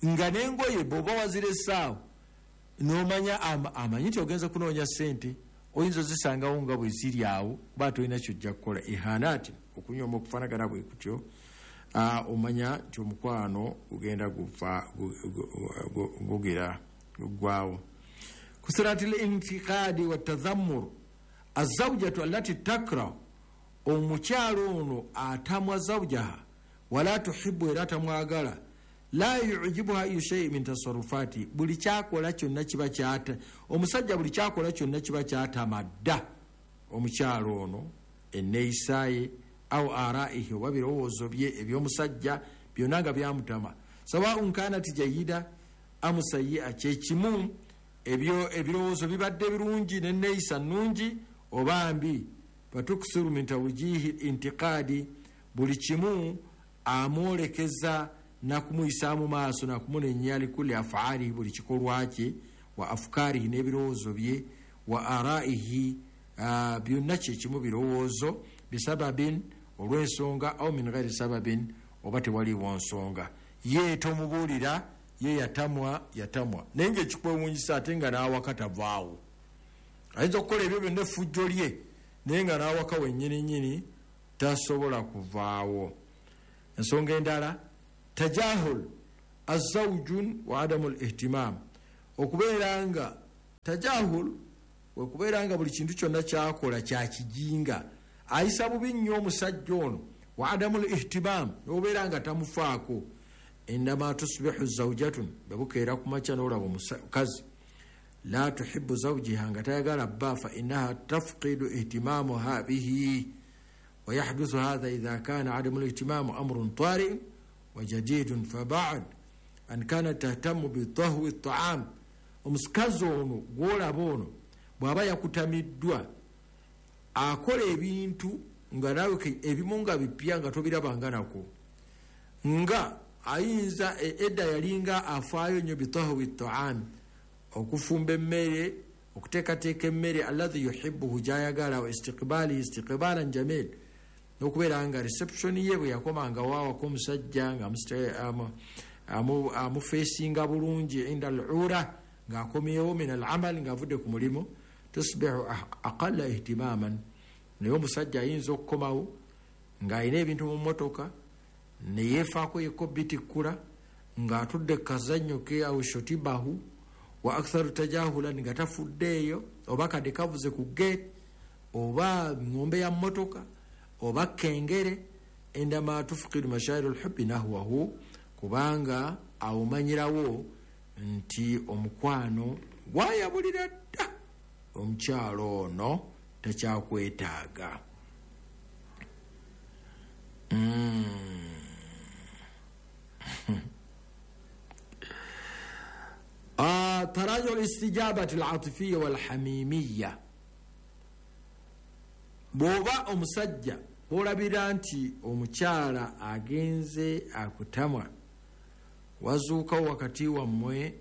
Nga n'engoye bw'oba waziresaawo n'omanya amanyi nti ogenza kunoonya ssente, oyinza ozisangawo nga bwe ziri awo, kuba tolina ky'ojja kukola. Ihanati, okunyooma okufaanagana bwe kutyo, omanya nti omukwano gugenda gufa gugira guggwawo. Kusirati lintiqadi watadhammur, azawjatu allati takrahu, omukyalo ono atamwa zawjaha wala tuhibbu, era tamwagala, la yujibuha ayu shay min tasarrufati, buli kyakola kyonna kiba kyata omusajja, buli kyakola kyonna kiba kyatamadda omukyalo ono, enneeyisa ye au araihi, oba birowoozo bye eby'omusajja byonna nga byamutama. Sawaun kanat jayida amu sayia, kyekimu ebyo ebirowoozo bibadde birungi n'enneeyisa nnungi oba mbi. Fatuksiru min tawjihi intiqadi, buli kimu amwolekeza nakumuyisaamu maaso, nakumunenya likulli afaalihi, buli kikolwa kye, wa afkaarihi, n'ebirowoozo bye, wa araihi, byonna kyekimu birowoozo, bisababin, olw'ensonga, au min ghairi sababin, oba tewaliwo nsonga. Ye tomubuulira, ye yatamwa yatamwa, naye nga ekikwewuunyisa ate nga n'awaka tavaawo. Ayinza okukola ebyo byonna effujjo lye, naye nga n'awaka wennyininyini tasobola kuvaawo. Ensonga endala, tajahul Azawjun wa adamu lihtimam, okubeera nga tajahul, wekubeera nga buli kintu kyonna kyakola kyakijinga, ayisa bubi nnyo omusajja ono. Wa adamu lihtimam, nobeera nga tamufaako. Indama tusbihu zawjatun, bwebukeera ku makya n'olaba omukazi la tuhibu zawjiha, nga tayagala bba, fa innaha tafqidu ihtimamuha bihi, wayahduthu hatha idha kana adamu lihtimamu amrun tari'un wa jadidun. Fabad an kanat tahtamu bitahwi taam, omusikazi ono gwolaba ono bw'aba yakutamiddwa akola ebintu nga nawe ebimu nga bipya nga tobirabanga nako, nga ayinza edda yalinga afaayo nnyo bitahwi taam, okufumba emmere, okuteekateeka emmere alladhi yuhibbuhu, gyayagala, wa istiqbaalihi istiqbaalan jamil, n'okubeera nga reception ye bwe yakomanga waawako omusajja nga amufeesinga bulungi inda al ura, ng'akomyewo min al amal, ng'avudde ku mulimu. Tusbihu aqalla ihtimaman, naye omusajja ayinza okukomawo ng'alina ebintu mu mmotoka neyeefaako yekko bitikkula, ng'atudde kazannyo ke awo shotibahu, wa aktharu tajahulan, nga tafuddeeyo, oba kadde kavuze ku gate, oba ng'ombe ya mmotoka, oba kengere. Indama tufqidu mashairu lhubbi nahwahu, kubanga awomanyirawo nti omukwano gwayabulira dda, omukyalo ono takyakwetaaga. Mm. Tarajo listijabati alatifiya walhamimiya, bw'oba omusajja bw'olabira nti omukyala agenze akutamwa, wazuukawo wakati wammwe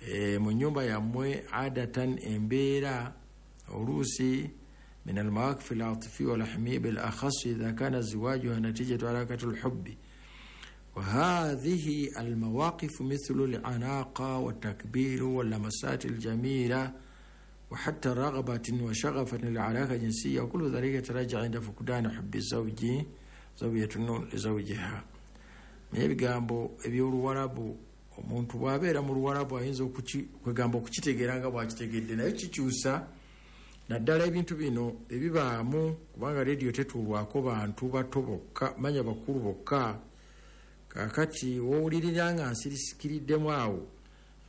e, mu nnyumba yammwe adatan embeera oluusi min almawaqif alatifiya walhamimiya bilakhas idha kana ziwajuha natijatu harakati lhubbi. وهذه المواقف مثل العناقة والتكبير واللمسات الجميلة وحتى رغبة وشغفا للعلاقة الجنسية، وكل ذلك يتراجع عند فقدان حب الزوج زوجة لزوجها. Naye ebigambo eby'oluwarabu, omuntu bw'abeera mu luwarabu ayinza kwegamba okukitegeera nga bw'akitegedde, naye kikyusa naddala ebintu bino ebibaamu, kubanga rediyo tetuulwako bantu bato bokka, manya bakulu bokka. Kakati wowulirira nga nsirisikiриddemu awo,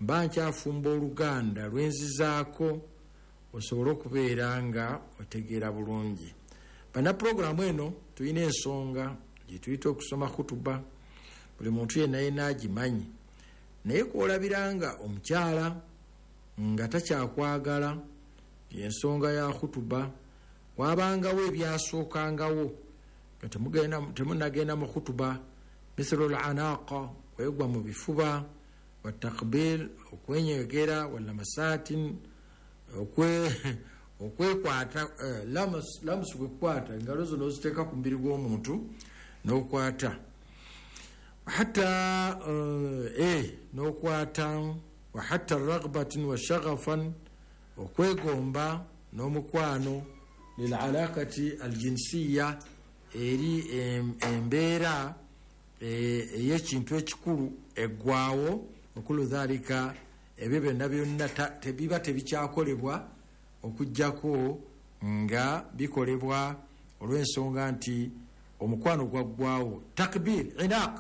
mba nkyafumba oluganda lwenzizaako osobole okubeera nga otegeera bulungi. Bana puroguramu eno tulina ensonga gyetuyita okusoma khutuba, buli muntu yenna yenna agimanyi, naye kwolabira nga omukyala nga takyakwagala, ensonga ya khutuba, wabangawo ebyasookangawo nga temunagenda mu khutuba, mithlu al-anaqa, kwegwa mu bifuba, watakbil, okwenywegera, walamasatin, okwekwata, lamusu kwekwata engalo zo n'oziteeka ku mubiri gw'omuntu n'okwata, hatta n'okwata, wa hatta raghbatin wa shaghafan, okwegomba n'omukwano, lil'alaqati aljinsiya, eri embeera ey'ekintu ekikulu eggwawo. Okulu dhalika, ebyo byonna byonna tebiba tebikyakolebwa okuggyako nga bikolebwa olw'ensonga nti omukwano gwaggwawo. Takbir, inaq,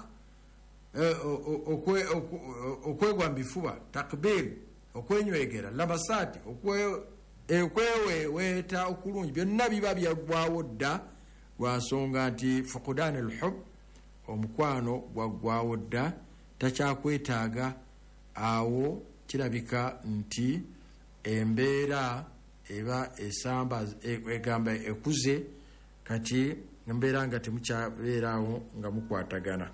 okwegwa mu bifuba, takbir, okwenywegera, lamasati, okweweweeta okulungi, byonna biba byaggwawo dda lwa nsonga nti fuqdan alhub, omukwano gwaggwawo dda, takyakwetaaga. Awo kirabika nti embeera eba esamba egamba ekuze, kati embeera nga temukyabeeraawo nga mukwatagana.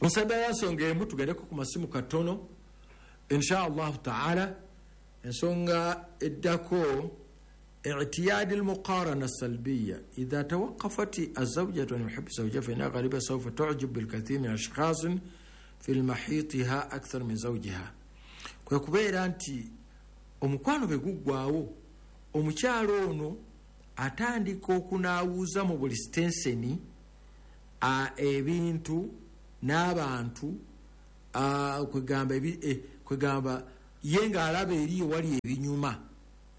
Nsaba yansonga emu tugendeko ku masimu katono insha allahu taala. Ensonga eddako اعتياد المقارنة السلبية، إذا توقفت الزوجة عن حب زوجها فإنها غالبا سوف تعجب بالكثير من الأشخاص في المحيطها أكثر من زوجها. Kwekubeera nti omukwano bwe guggwawo, omukyalo ono atandika okunaawuza mu buli sitenseni ebintu n'abantu Kwegamba kwegamba ye ng'alaba eri ewali ebinyuma,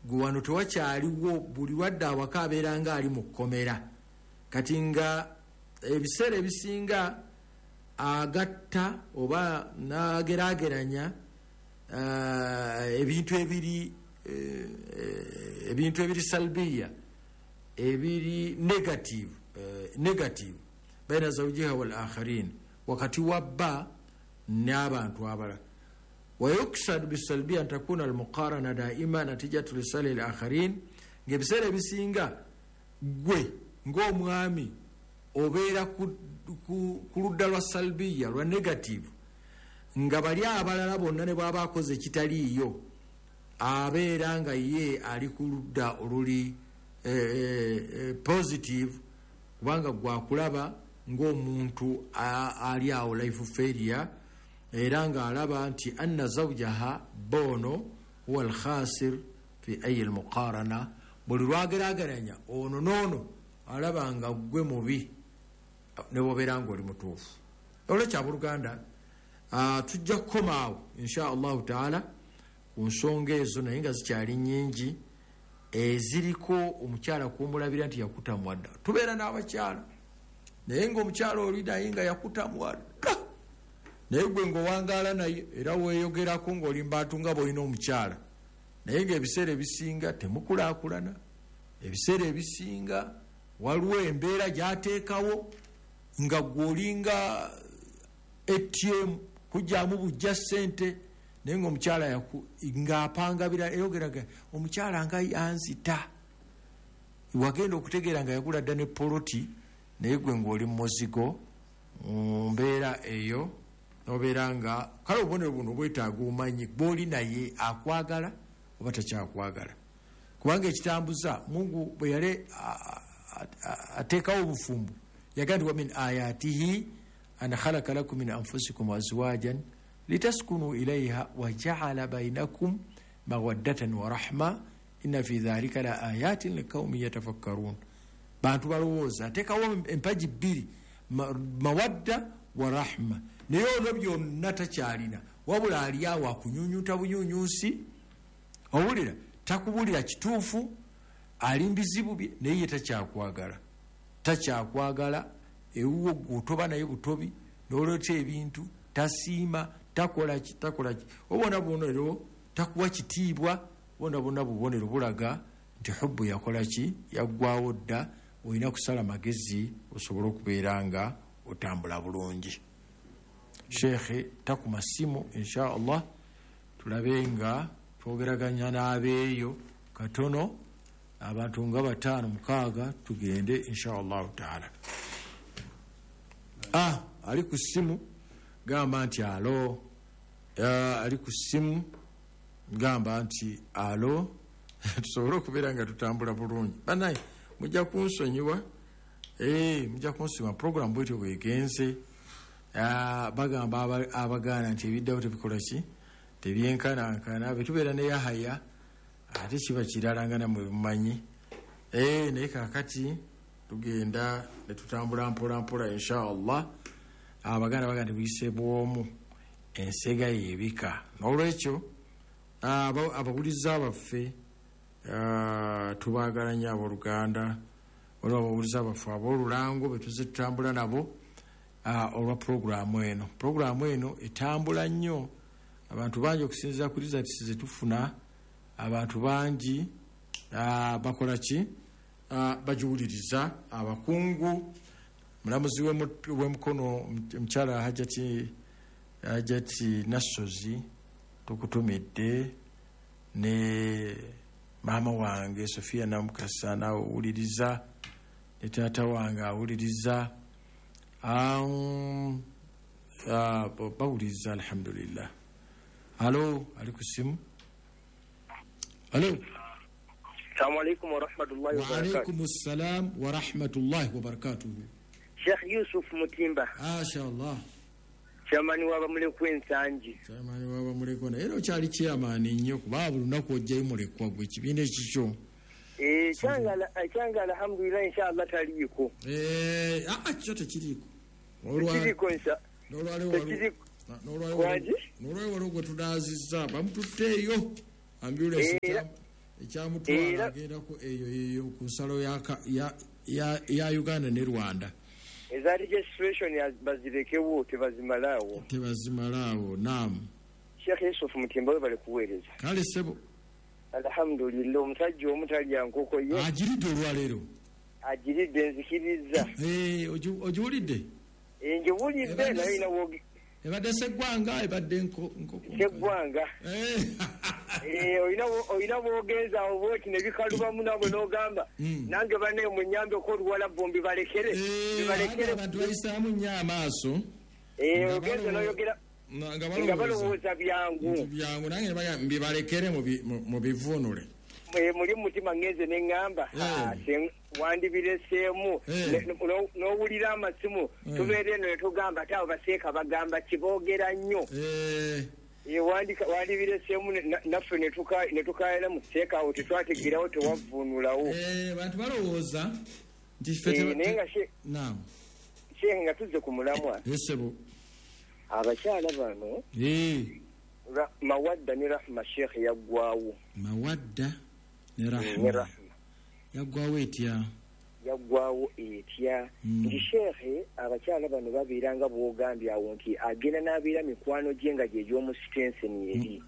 gwe wano tewakyaliwo, buli lwadde awaka abeera nga ali mu kkomera. Kati nga ebiseera ebisinga agatta oba n'ageraageranya ebintu ebiri ebintu ebiri salbiya, ebiri negative, negative baina zawjiha wal akharin, wakati wa bba n'abantu abalala. Wayuksad bisalbiya antakuna almuqarana daima natijatu lisali al akharin, ng'ebiseera ebisinga gwe ng'omwami obeera ku ludda lwa salbiya, lwa negative, nga bali abalala bonna ne bw'aba akoze ekitaliiyo abeera nga ye ali ku ludda oluli positive, kubanga gwakulaba ng'omuntu ali awo life failure, era ng'alaba nti anna zawjaha bono huwa alkhasir fi ayi almuqarana, buli lwagerageranya ono n'ono alaba nga gwe mubi ne bw'obeera ng'oli mutuufu. Olwekyo abooluganda, tujja kukoma awo insha allahu taala ku nsonga ezo, naye nga zikyali nnyingi eziriko omukyala kumulabira nti yakutamwa dda. Tubeera n'abakyala naye ng'omukyala oli naye nga yakutamwa dda, naye gwe ng'owangaala naye era weeyogerako ng'oli mbantu nga bw'olina omukyala, naye ng'ebiseera ebisinga temukulaakulana, ebiseera ebisinga waliwo embeera gy'ateekawo nga gwe olinga A T M kujjamu bujja ssente, naye ng'omukyala ng'apanga birala, eyogeraga omukyala nga yanzita, wagenda okutegeera nga yagula dda ne poloti, naye gwe ng'oli mu muzigo mu mbeera eyo obeera nga kale obubonero buno bwetaaga omanyi gw'oli naye akwagala oba takyakwagala, kubanga ekitambuza Mungu bwe yali ateekawo obufumbo yagamba nti wa min ayatihi an khalaqa lakum min anfusikum azwajan litaskunu ilayha wa ja'ala bainakum mawaddatan wa rahma inna fi dhalika la ayatin liqaumin yatafakkarun. Bantu balowooza ateekawo empagi bbiri, mawadda wa rahma, naye ono byonna takyalina, wabula ali awo akunyunyuta bunyunyusi, owulira takubulira kituufu, ali mbizibu bye, naye ye takyakwagala, takyakwagala. Ewuwo gwe otoba naye butobi n'oleeta ebintu, tasiima, takola ki, takola ki, obona bubonero takuwa kitiibwa, bona bonna bubonero bulaga nti hubbu yakola ki, yaggwawo dda. Olina kusala magezi osobole okubeera nga otambula bulungi. Sheekhe takuma simu insha Allah, tulabe nga twogeraganya n'abeeyo katono, abantu nga bataano mukaaga tugende insha allahu taala. Ah, ali ku simu gamba nti alo, ali ku simu gamba nti alo, tusobole okubeera nga tutambula bulungi. Bannaye mujja kunsonyiwa, eh, mujja kunsonyiwa, program bwetyo bwegenze. Bagamba abagaana nti ebiddawo tebikola ki, tebyenkanankana, bwe tubeera ne Yahaya ate kiba kirala nga nammwe mumanyi. Eh, naye kaakati tugenda ne tutambula mpola mpola insha Allah. Abaganda bagamba nti buyise bw'omu ensega yeebika. N'olwekyo abawuliza baffe tubaagala nnyo abooluganda, waliwo abawuliza baffe ab'olulango be tuzze tutambula nabo olwa puroguraamu eno. Puroguraamu eno etambula nnyo, abantu bangi okusinziira ku results ze tufuna, abantu bangi bakola ki, bagiwuliriza. Abakungu, mulamuzi w'emikono omukyala Hajati Hajati Nassozi tukutumidde, ne maama wange Sofia Namukasa naawe owuliriza, ne taata wange awuliriza, bawuliriza alhamdulillah. Alo, ali ku simu. Alo. Assalamu alaikum wa rahmatullahi wa barakatuh. Wa alaikum assalam wa rahmatullahi wa barakatuh. Sheikh Yusuf Mutimba. Masha Allah. Chairman wa Bamulekwa Ensangi. Chairman wa Bamulekwa naye era okyali chairman nnyo kuba buli lunaku ojjayo mulekwa gwe ekibiina ekikyo. Eh, kyanga alhamdulillah inshallah taliiko. Eh, ah kikyo tekiriiko. Tekiriiko insha. N'olwaleero N'olwayo waliwo gwe tunaazizza bamututteeyo ambulensi ekyamutwala agendako eyo eyo ku nsalo ya Uganda ne Rwanda. Eza registration bazirekewo tebazimalaawo. Tebazimalaawo, naamu. Sheikh Yusuf Mutimba webale kuweereza. Kale ssebo. Alhamdulillah, omusajja omutalya nkoko ye agiridde olwaleero. Agiridde, nzikiriza. Ogiwulidde? Ngiwulidde naye nawo ebadde seggwanga, ebadde nkoko seggwanga. Olina bwogenza awo bwoti ne bikalubamu nabwe n'ogamba nange banne munyambeko oluwala bombi balekere bibalekere. Abantu bayisaamu nnyo amaaso. Ogenza n'oyogera nga balowooza byangu byangu, nange mbibalekere mubivuunule. Muli mutima ngenze ne ŋŋamba wandibireseemu n'owulira amasimu tubeera eno ne tugamba ate abo baseeka bagamba kiboogera nnyo. Wandibireseemu naffe ne tukaayana mu seeka awo tetwategerawo tewavuunulawo. Bantu balowooza nti ffe naye nga Sheikh nga tuzze ku mulamwa. Abakyala bano Mawadda ne Rahma Sheikh yaggwawo. Mawadda ne Rahma yaggwawo etya? Yaggwawo etya? Nti Sheikh abakyala bano babeera nga bw'ogambye awo nti agenda n'abeera mikwano gye nga gye gy'omusitenseni eri.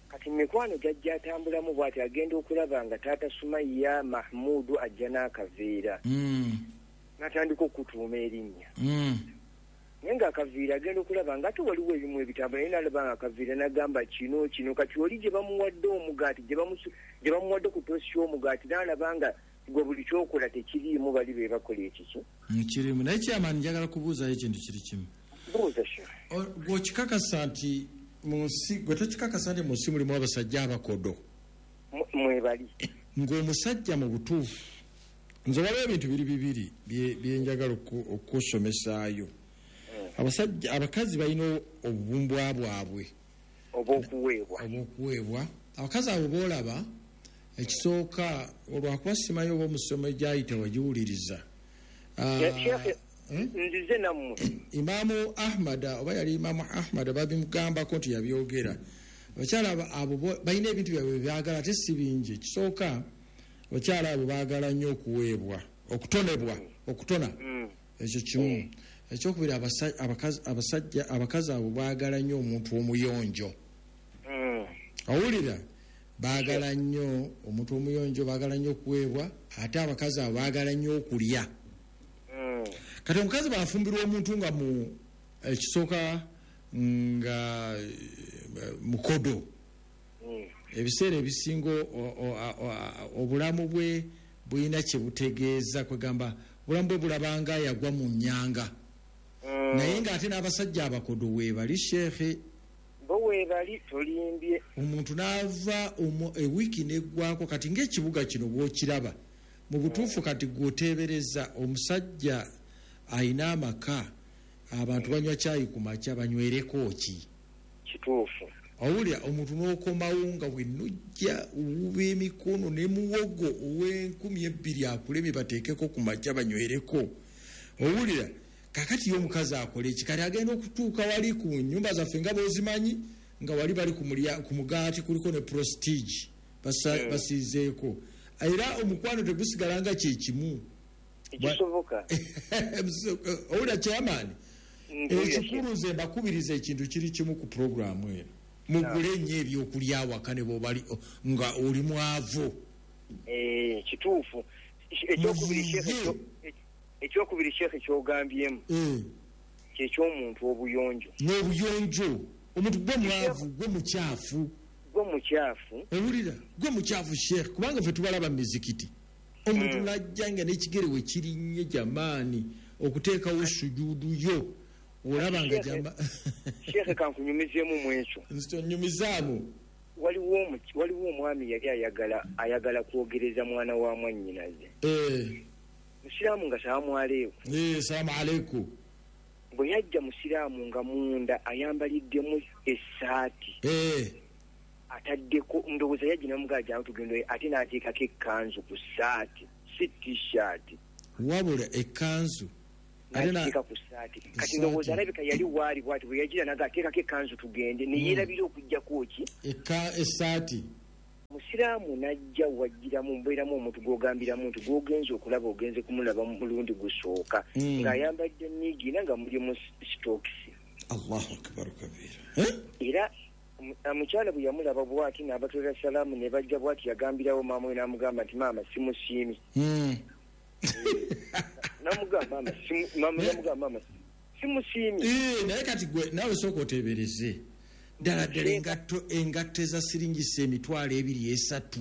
Kati mikwano gy'ajja atambulamu bw'ati agenda okulaba nga taata Sumaiya Mahmudu ajja n'akaveera n'atandika okutuuma erinnya. Naye ng'akaviira agenda okulaba nga ate waliwo ebimu ebitambula, naye n'alaba nga akaviira n'agamba kino kino. Kati oli gye bamuwadde omugaati, gye bamuwadde ku toosi y'omugaati, n'alaba nga gwe buli kyokola tekiriimu, bali be bakola ekiki kirimu. Naye kyamaani njagala kubuuzayo ekintu kiri kimu. Buuza Sheikh. Gwe okikakasa nti mu nsi, gwe tokikakasa nti mu nsi mulimu abasajja abakodo? Mwebali. Ng'omusajja mu butuufu, nze waliwo ebintu biri bibiri bye njagala okusomesaayo. Abasajja abakazi balina obubumbwa bwabwe obw'okuweebwa. Obw'okuweebwa. Abakazi abo boolaba ekisooka olwakuba simanyi oba omusomo gyayita wagiwuliriza. Nzize nammwe. Imaamu Ahmad oba yali Imaamu Ahmad babimugambako nti yabyogera. Abakyala abo balina ebintu byabwe byagala ate si bingi. Ekisooka abakyala abo baagala nnyo okuweebwa, okutonebwa, okutona. Ekyo kimu. Ekyokubiri abasajja abakazi abo baagala nnyo omuntu omuyonjo. Owulira? Baagala nnyo omuntu omuyonjo, baagala nnyo okuweebwa, ate abakazi abo baagala nnyo okulya. Kati omukazi bw'afumbirwa omuntu nga mu ekisooka nga mukodo, ebiseera ebisinga obulamu bwe bulina kye butegeeza, kwegamba obulamu bwe bulabanga yagwa mu nnyanga. Naye ng'ate n'abasajja abakodo weebali Sheikh. Bo weebali, tolimbye. Omuntu n'ava ewiiki n'eggwako. Kati ng'ekibuga kino bw'okiraba mu butuufu, kati gw'oteebereza omusajja ayina amaka, abantu banywa caayi ku makya, banywereko ki? Kituufu. Owulira omuntu n'okomawo nga bwenujja owuba emikono ne muwogo ow'enkumi ebbiri akulemye bateekeko ku makya banywereko. Owulira kakati ye omukazi akola eki? Kati agenda okutuuka wali ku nnyumba zaffe nga bw'ozimanyi, nga wali bali ku mugaati kuliko ne prestige basiizeeko, era omukwano tegusigala nga kye kimu. Ekisoboka. Owulira kyamaani? Ekikulu nze mbakubiriza ekintu kiri kimu ku puroguramu eno. Mugule nnyo ebyokulya awaka ne bw'obali nga oli mwavu. Kituufu. Ekyokubiri Sheikh kyogambyemu kyeky'omuntu obuyonjo. N'obuyonjo. Omuntu gwe mwavu, gwe mukyafu. Gwe mukyafu. Owulira? Gwe mukyafu Sheikh, kubanga ffe tubalaba mu mizikiti. Omuntu n'ajja nga n'ekigere we kirinnye jamaani okuteekawo sujuudu yo. Olaba nga jama. Sheikh kankunyumizeemu mu ekyo. Nnyumizaamu. Waliwo waliwo omwami yali ayagala ayagala kwogereza mwana wa mwannyinaze. Eh. Musiraamu nga salaamu aleikum. Eh, salaamu aleikum. Bwe yajja musiraamu nga munda ayambaliddemu essaati. Eh. Ataddeko ndowooza yajja n'amugamba jangu tugende, ate n'ateekako ekkanzu ku ssaati, si t-shirt. Wabula ekkanzu N'akiteeka ku ssaati. Kati ndowooza alabika yali waali bw'ati bwe yagira n'agateekako ekkanzu tugende ne yeerabira okuggyako ki? Essaati. Musiraamu n'ajja wajjiramu mbeeramu omuntu gw'ogambiramu nti gw'ogenze okulaba ogenze kumulaba mulundi gusooka ng'ayambadde niigina nga muli mu sitookisi. Allahu akbar kabira. Era omukyala bwe yamulaba bw'ati n'abatwalira salaamu ne bajja bw'ati yagambirawo maama we n'amugamba nti maama simusiimi. Namugamba maama maama namugamba maama simusiimi. Naye kati gwe naawe sooka oteebereze. Ddala ddala engatto engatto eza siringisa emitwalo ebiri esatu.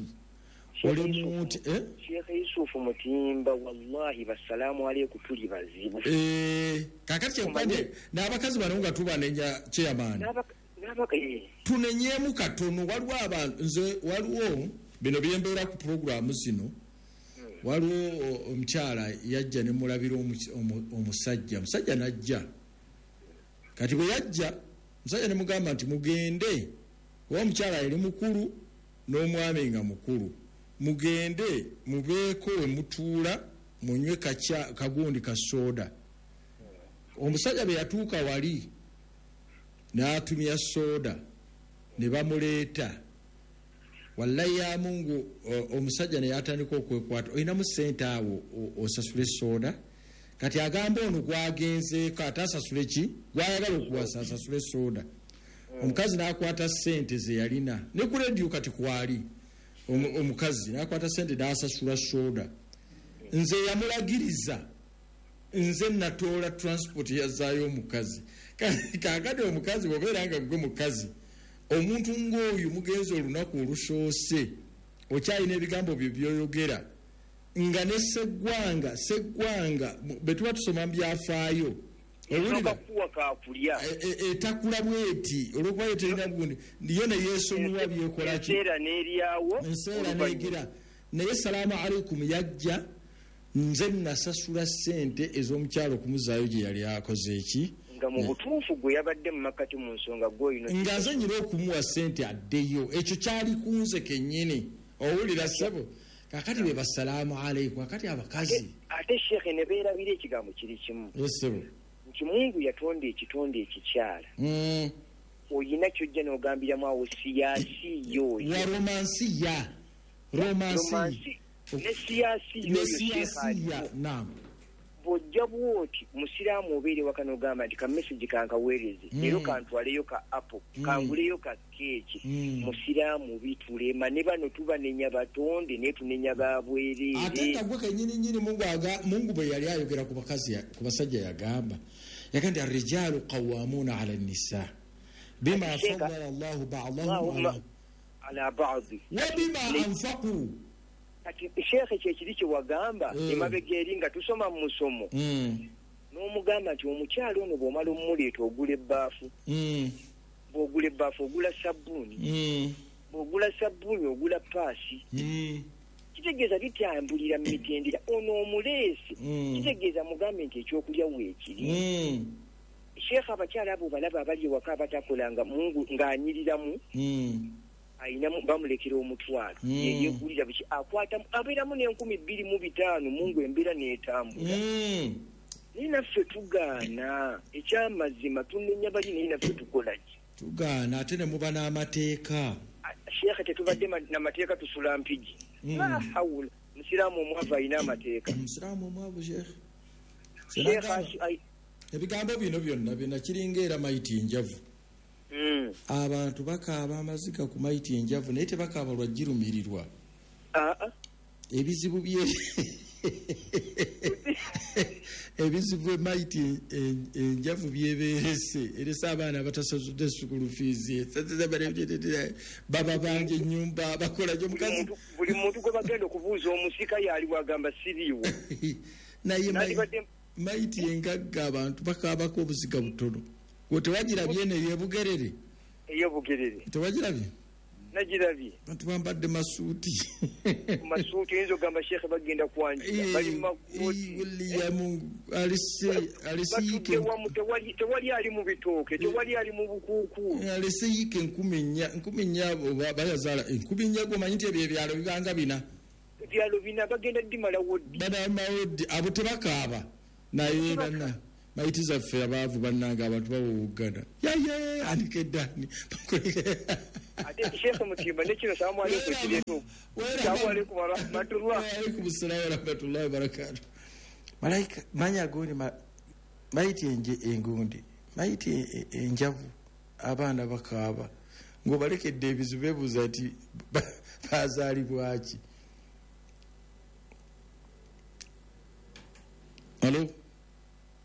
Oli muntu eh? Sheikh Yusufu Mutimba wallahi bassalaamu aleikum tuli bazibu. Eh, kakati kyenkubadde n'abakazi bano nga tubanenya chairman. N'abaka eh. Tunenyeemu katono waliwo abantu nze waliwo bino byembeera ku pulogulaamu zino. Waliwo omukyala yajja ne mulabira omusajja, omusajja n'ajja. Kati bwe yajja omusajja ne mugamba nti mugende, oba omukyala yali mukulu n'omwami nga mukulu, mugende mubeeko we mutuula munywe kagundi ka soda. Omusajja bwe yatuuka wali n'atumya soda ne bamuleeta. Wallahi ya Mungu omusajja ne yatandika okwekwata olinamu ssente awo osasule soda. Kati agamba ono gwagenzeeko ate asasule ki gwayagala okuwasa asasule soda. Omukazi n'akwata ssente ze yalina ne ku rediyo kati kwali omukazi n'akwata ssente n'asasula soda. Nze yamulagiriza nze natoola transport yazaayo omukazi. Kaakati omukazi bw'obeera nga gwe mukazi omuntu ng'oyo mugenzi olunaku olusoose okyalina ebigambo bye by'oyogera nga ne sseggwanga sseggwanga bwe tuba tusoma mu byafaayo etakula bweti olw'okuba yo terina bugundi yo ne yeesonyiwa byekola ki enseera n'egira. Naye salaamu aleikum yajja nze nasasula ssente ez'omukyalo okumuzaayo gye yali akoze eki nga mu butuufu gwe yabadde mu makkati mu nsonga gw'olina nga nze nyina okumuwa ssente addeyo ekyo kyali ku nze kennyini. Owulira ssebo kakati be bassalaamu aleikum. Kakati abakazi ate sheekhe ne beerabira ekigambo kiri kimu ssebo nti Mungu yatonda ekitonde ekikyala oyina ky'ojja n'ogambiramu awo siyaasi yoyo wa romansiya romansi ne siyaasi yoyo siyaasiya naam. Bw'ojja bw'oti musiraamu obeere waka n'ogamba nti ka message kankaweereze leero kantwaleyo ka apple kanguleyo ka keeki musiraamu bitulema ne bano tubanenya batonde naye tunenya babwereere. Ate nga gwe kennyini nnyini Mungu aga Mungu bwe yali ayogera ku bakazi ku basajja yagamba yagamba nti arrijaalu qawwaamuuna ala nnisaa bima faddala Allahu ba'dahum ala ba'di wa bima anfaqu. Kati sheekhe kyekiri kye wagamba emabega eri nga tusoma mu musomo n'omugamba nti omukyala ono bw'omala omumuleeta ogula ebbaafu bw'ogula ebbaafu ogula sabbuuni bw'ogula sabbuuni ogula paasi kitegeeza bitambulira mu mitendera ono omuleese kitegeeza mugambe nti ekyokulya weekiri. Sheekhe abakyala abo balaba abali ewaka abatakolanga Mungu ng'anyiriramu ayinamu bamulekera omutwalo yeyegulira biki akwata abeeramu n'enkumi bbiri mu bitaano Mungu embeera n'etambula. Naye naffe tugaana ekyamazima tunenya bali naye naffe tukola ki? Tugaana ate ne muba n'amateeka. Sheekhe tetubadde n'amateeka tusula mpigi. La hawula musiraamu omwavu alina amateeka. Musiraamu omwavu sheekhe. Ebigambo bino byonna byonna kiringa era mayiti enjavu. Mm. Abantu bakaaba amaziga ku mayiti enjavu naye tebakaaba lwa girumirirwa. Aa. Ebizibu bye ebizibu emayiti enjavu byebeerese erese abaana abatasasudde school fees baba bangi ennyumba bakola gyo mukazi buli muntu gwe bagenda okubuuza omusika yali wagamba siriiwo. Naye mayiti engagga abantu bakaabako obuziga butono. Gwe tewagirabye eno ey'ebugerere ey'obugerere tewagirabye? Nagirabye. Bantu bambadde masuuti masuuti oyinza okugamba sheekhe bagenda kwanjula bali mu makooti William alese alese yiike tewali tewali ali mu bitooke tewali ali mu bukuukulu alese yiike enkumi nnya enkumi nnya bayazaala enkumi nnya gwomanyi nti ebyo ebyalo bibanga bina ebyalo bina bagenda ddimalawo ddi badamalawo ddi abo tebakaaba Naye banna mayiti zaffe abaavu bannange abantu bawuwuggana yaye anikeddani. Ate Sheikh Mutimba ne kino salamu aleikum kireeto. Salamu aleikum wa rahmatullah. Wa alaikum salaam wa rahmatullahi wa barakatuh. Malaika manya gundi mayiti enje engundi mayiti enjavu abaana bakaaba ng'obalekedde ebizibu beebuuza nti bazaalibwaki. Alo.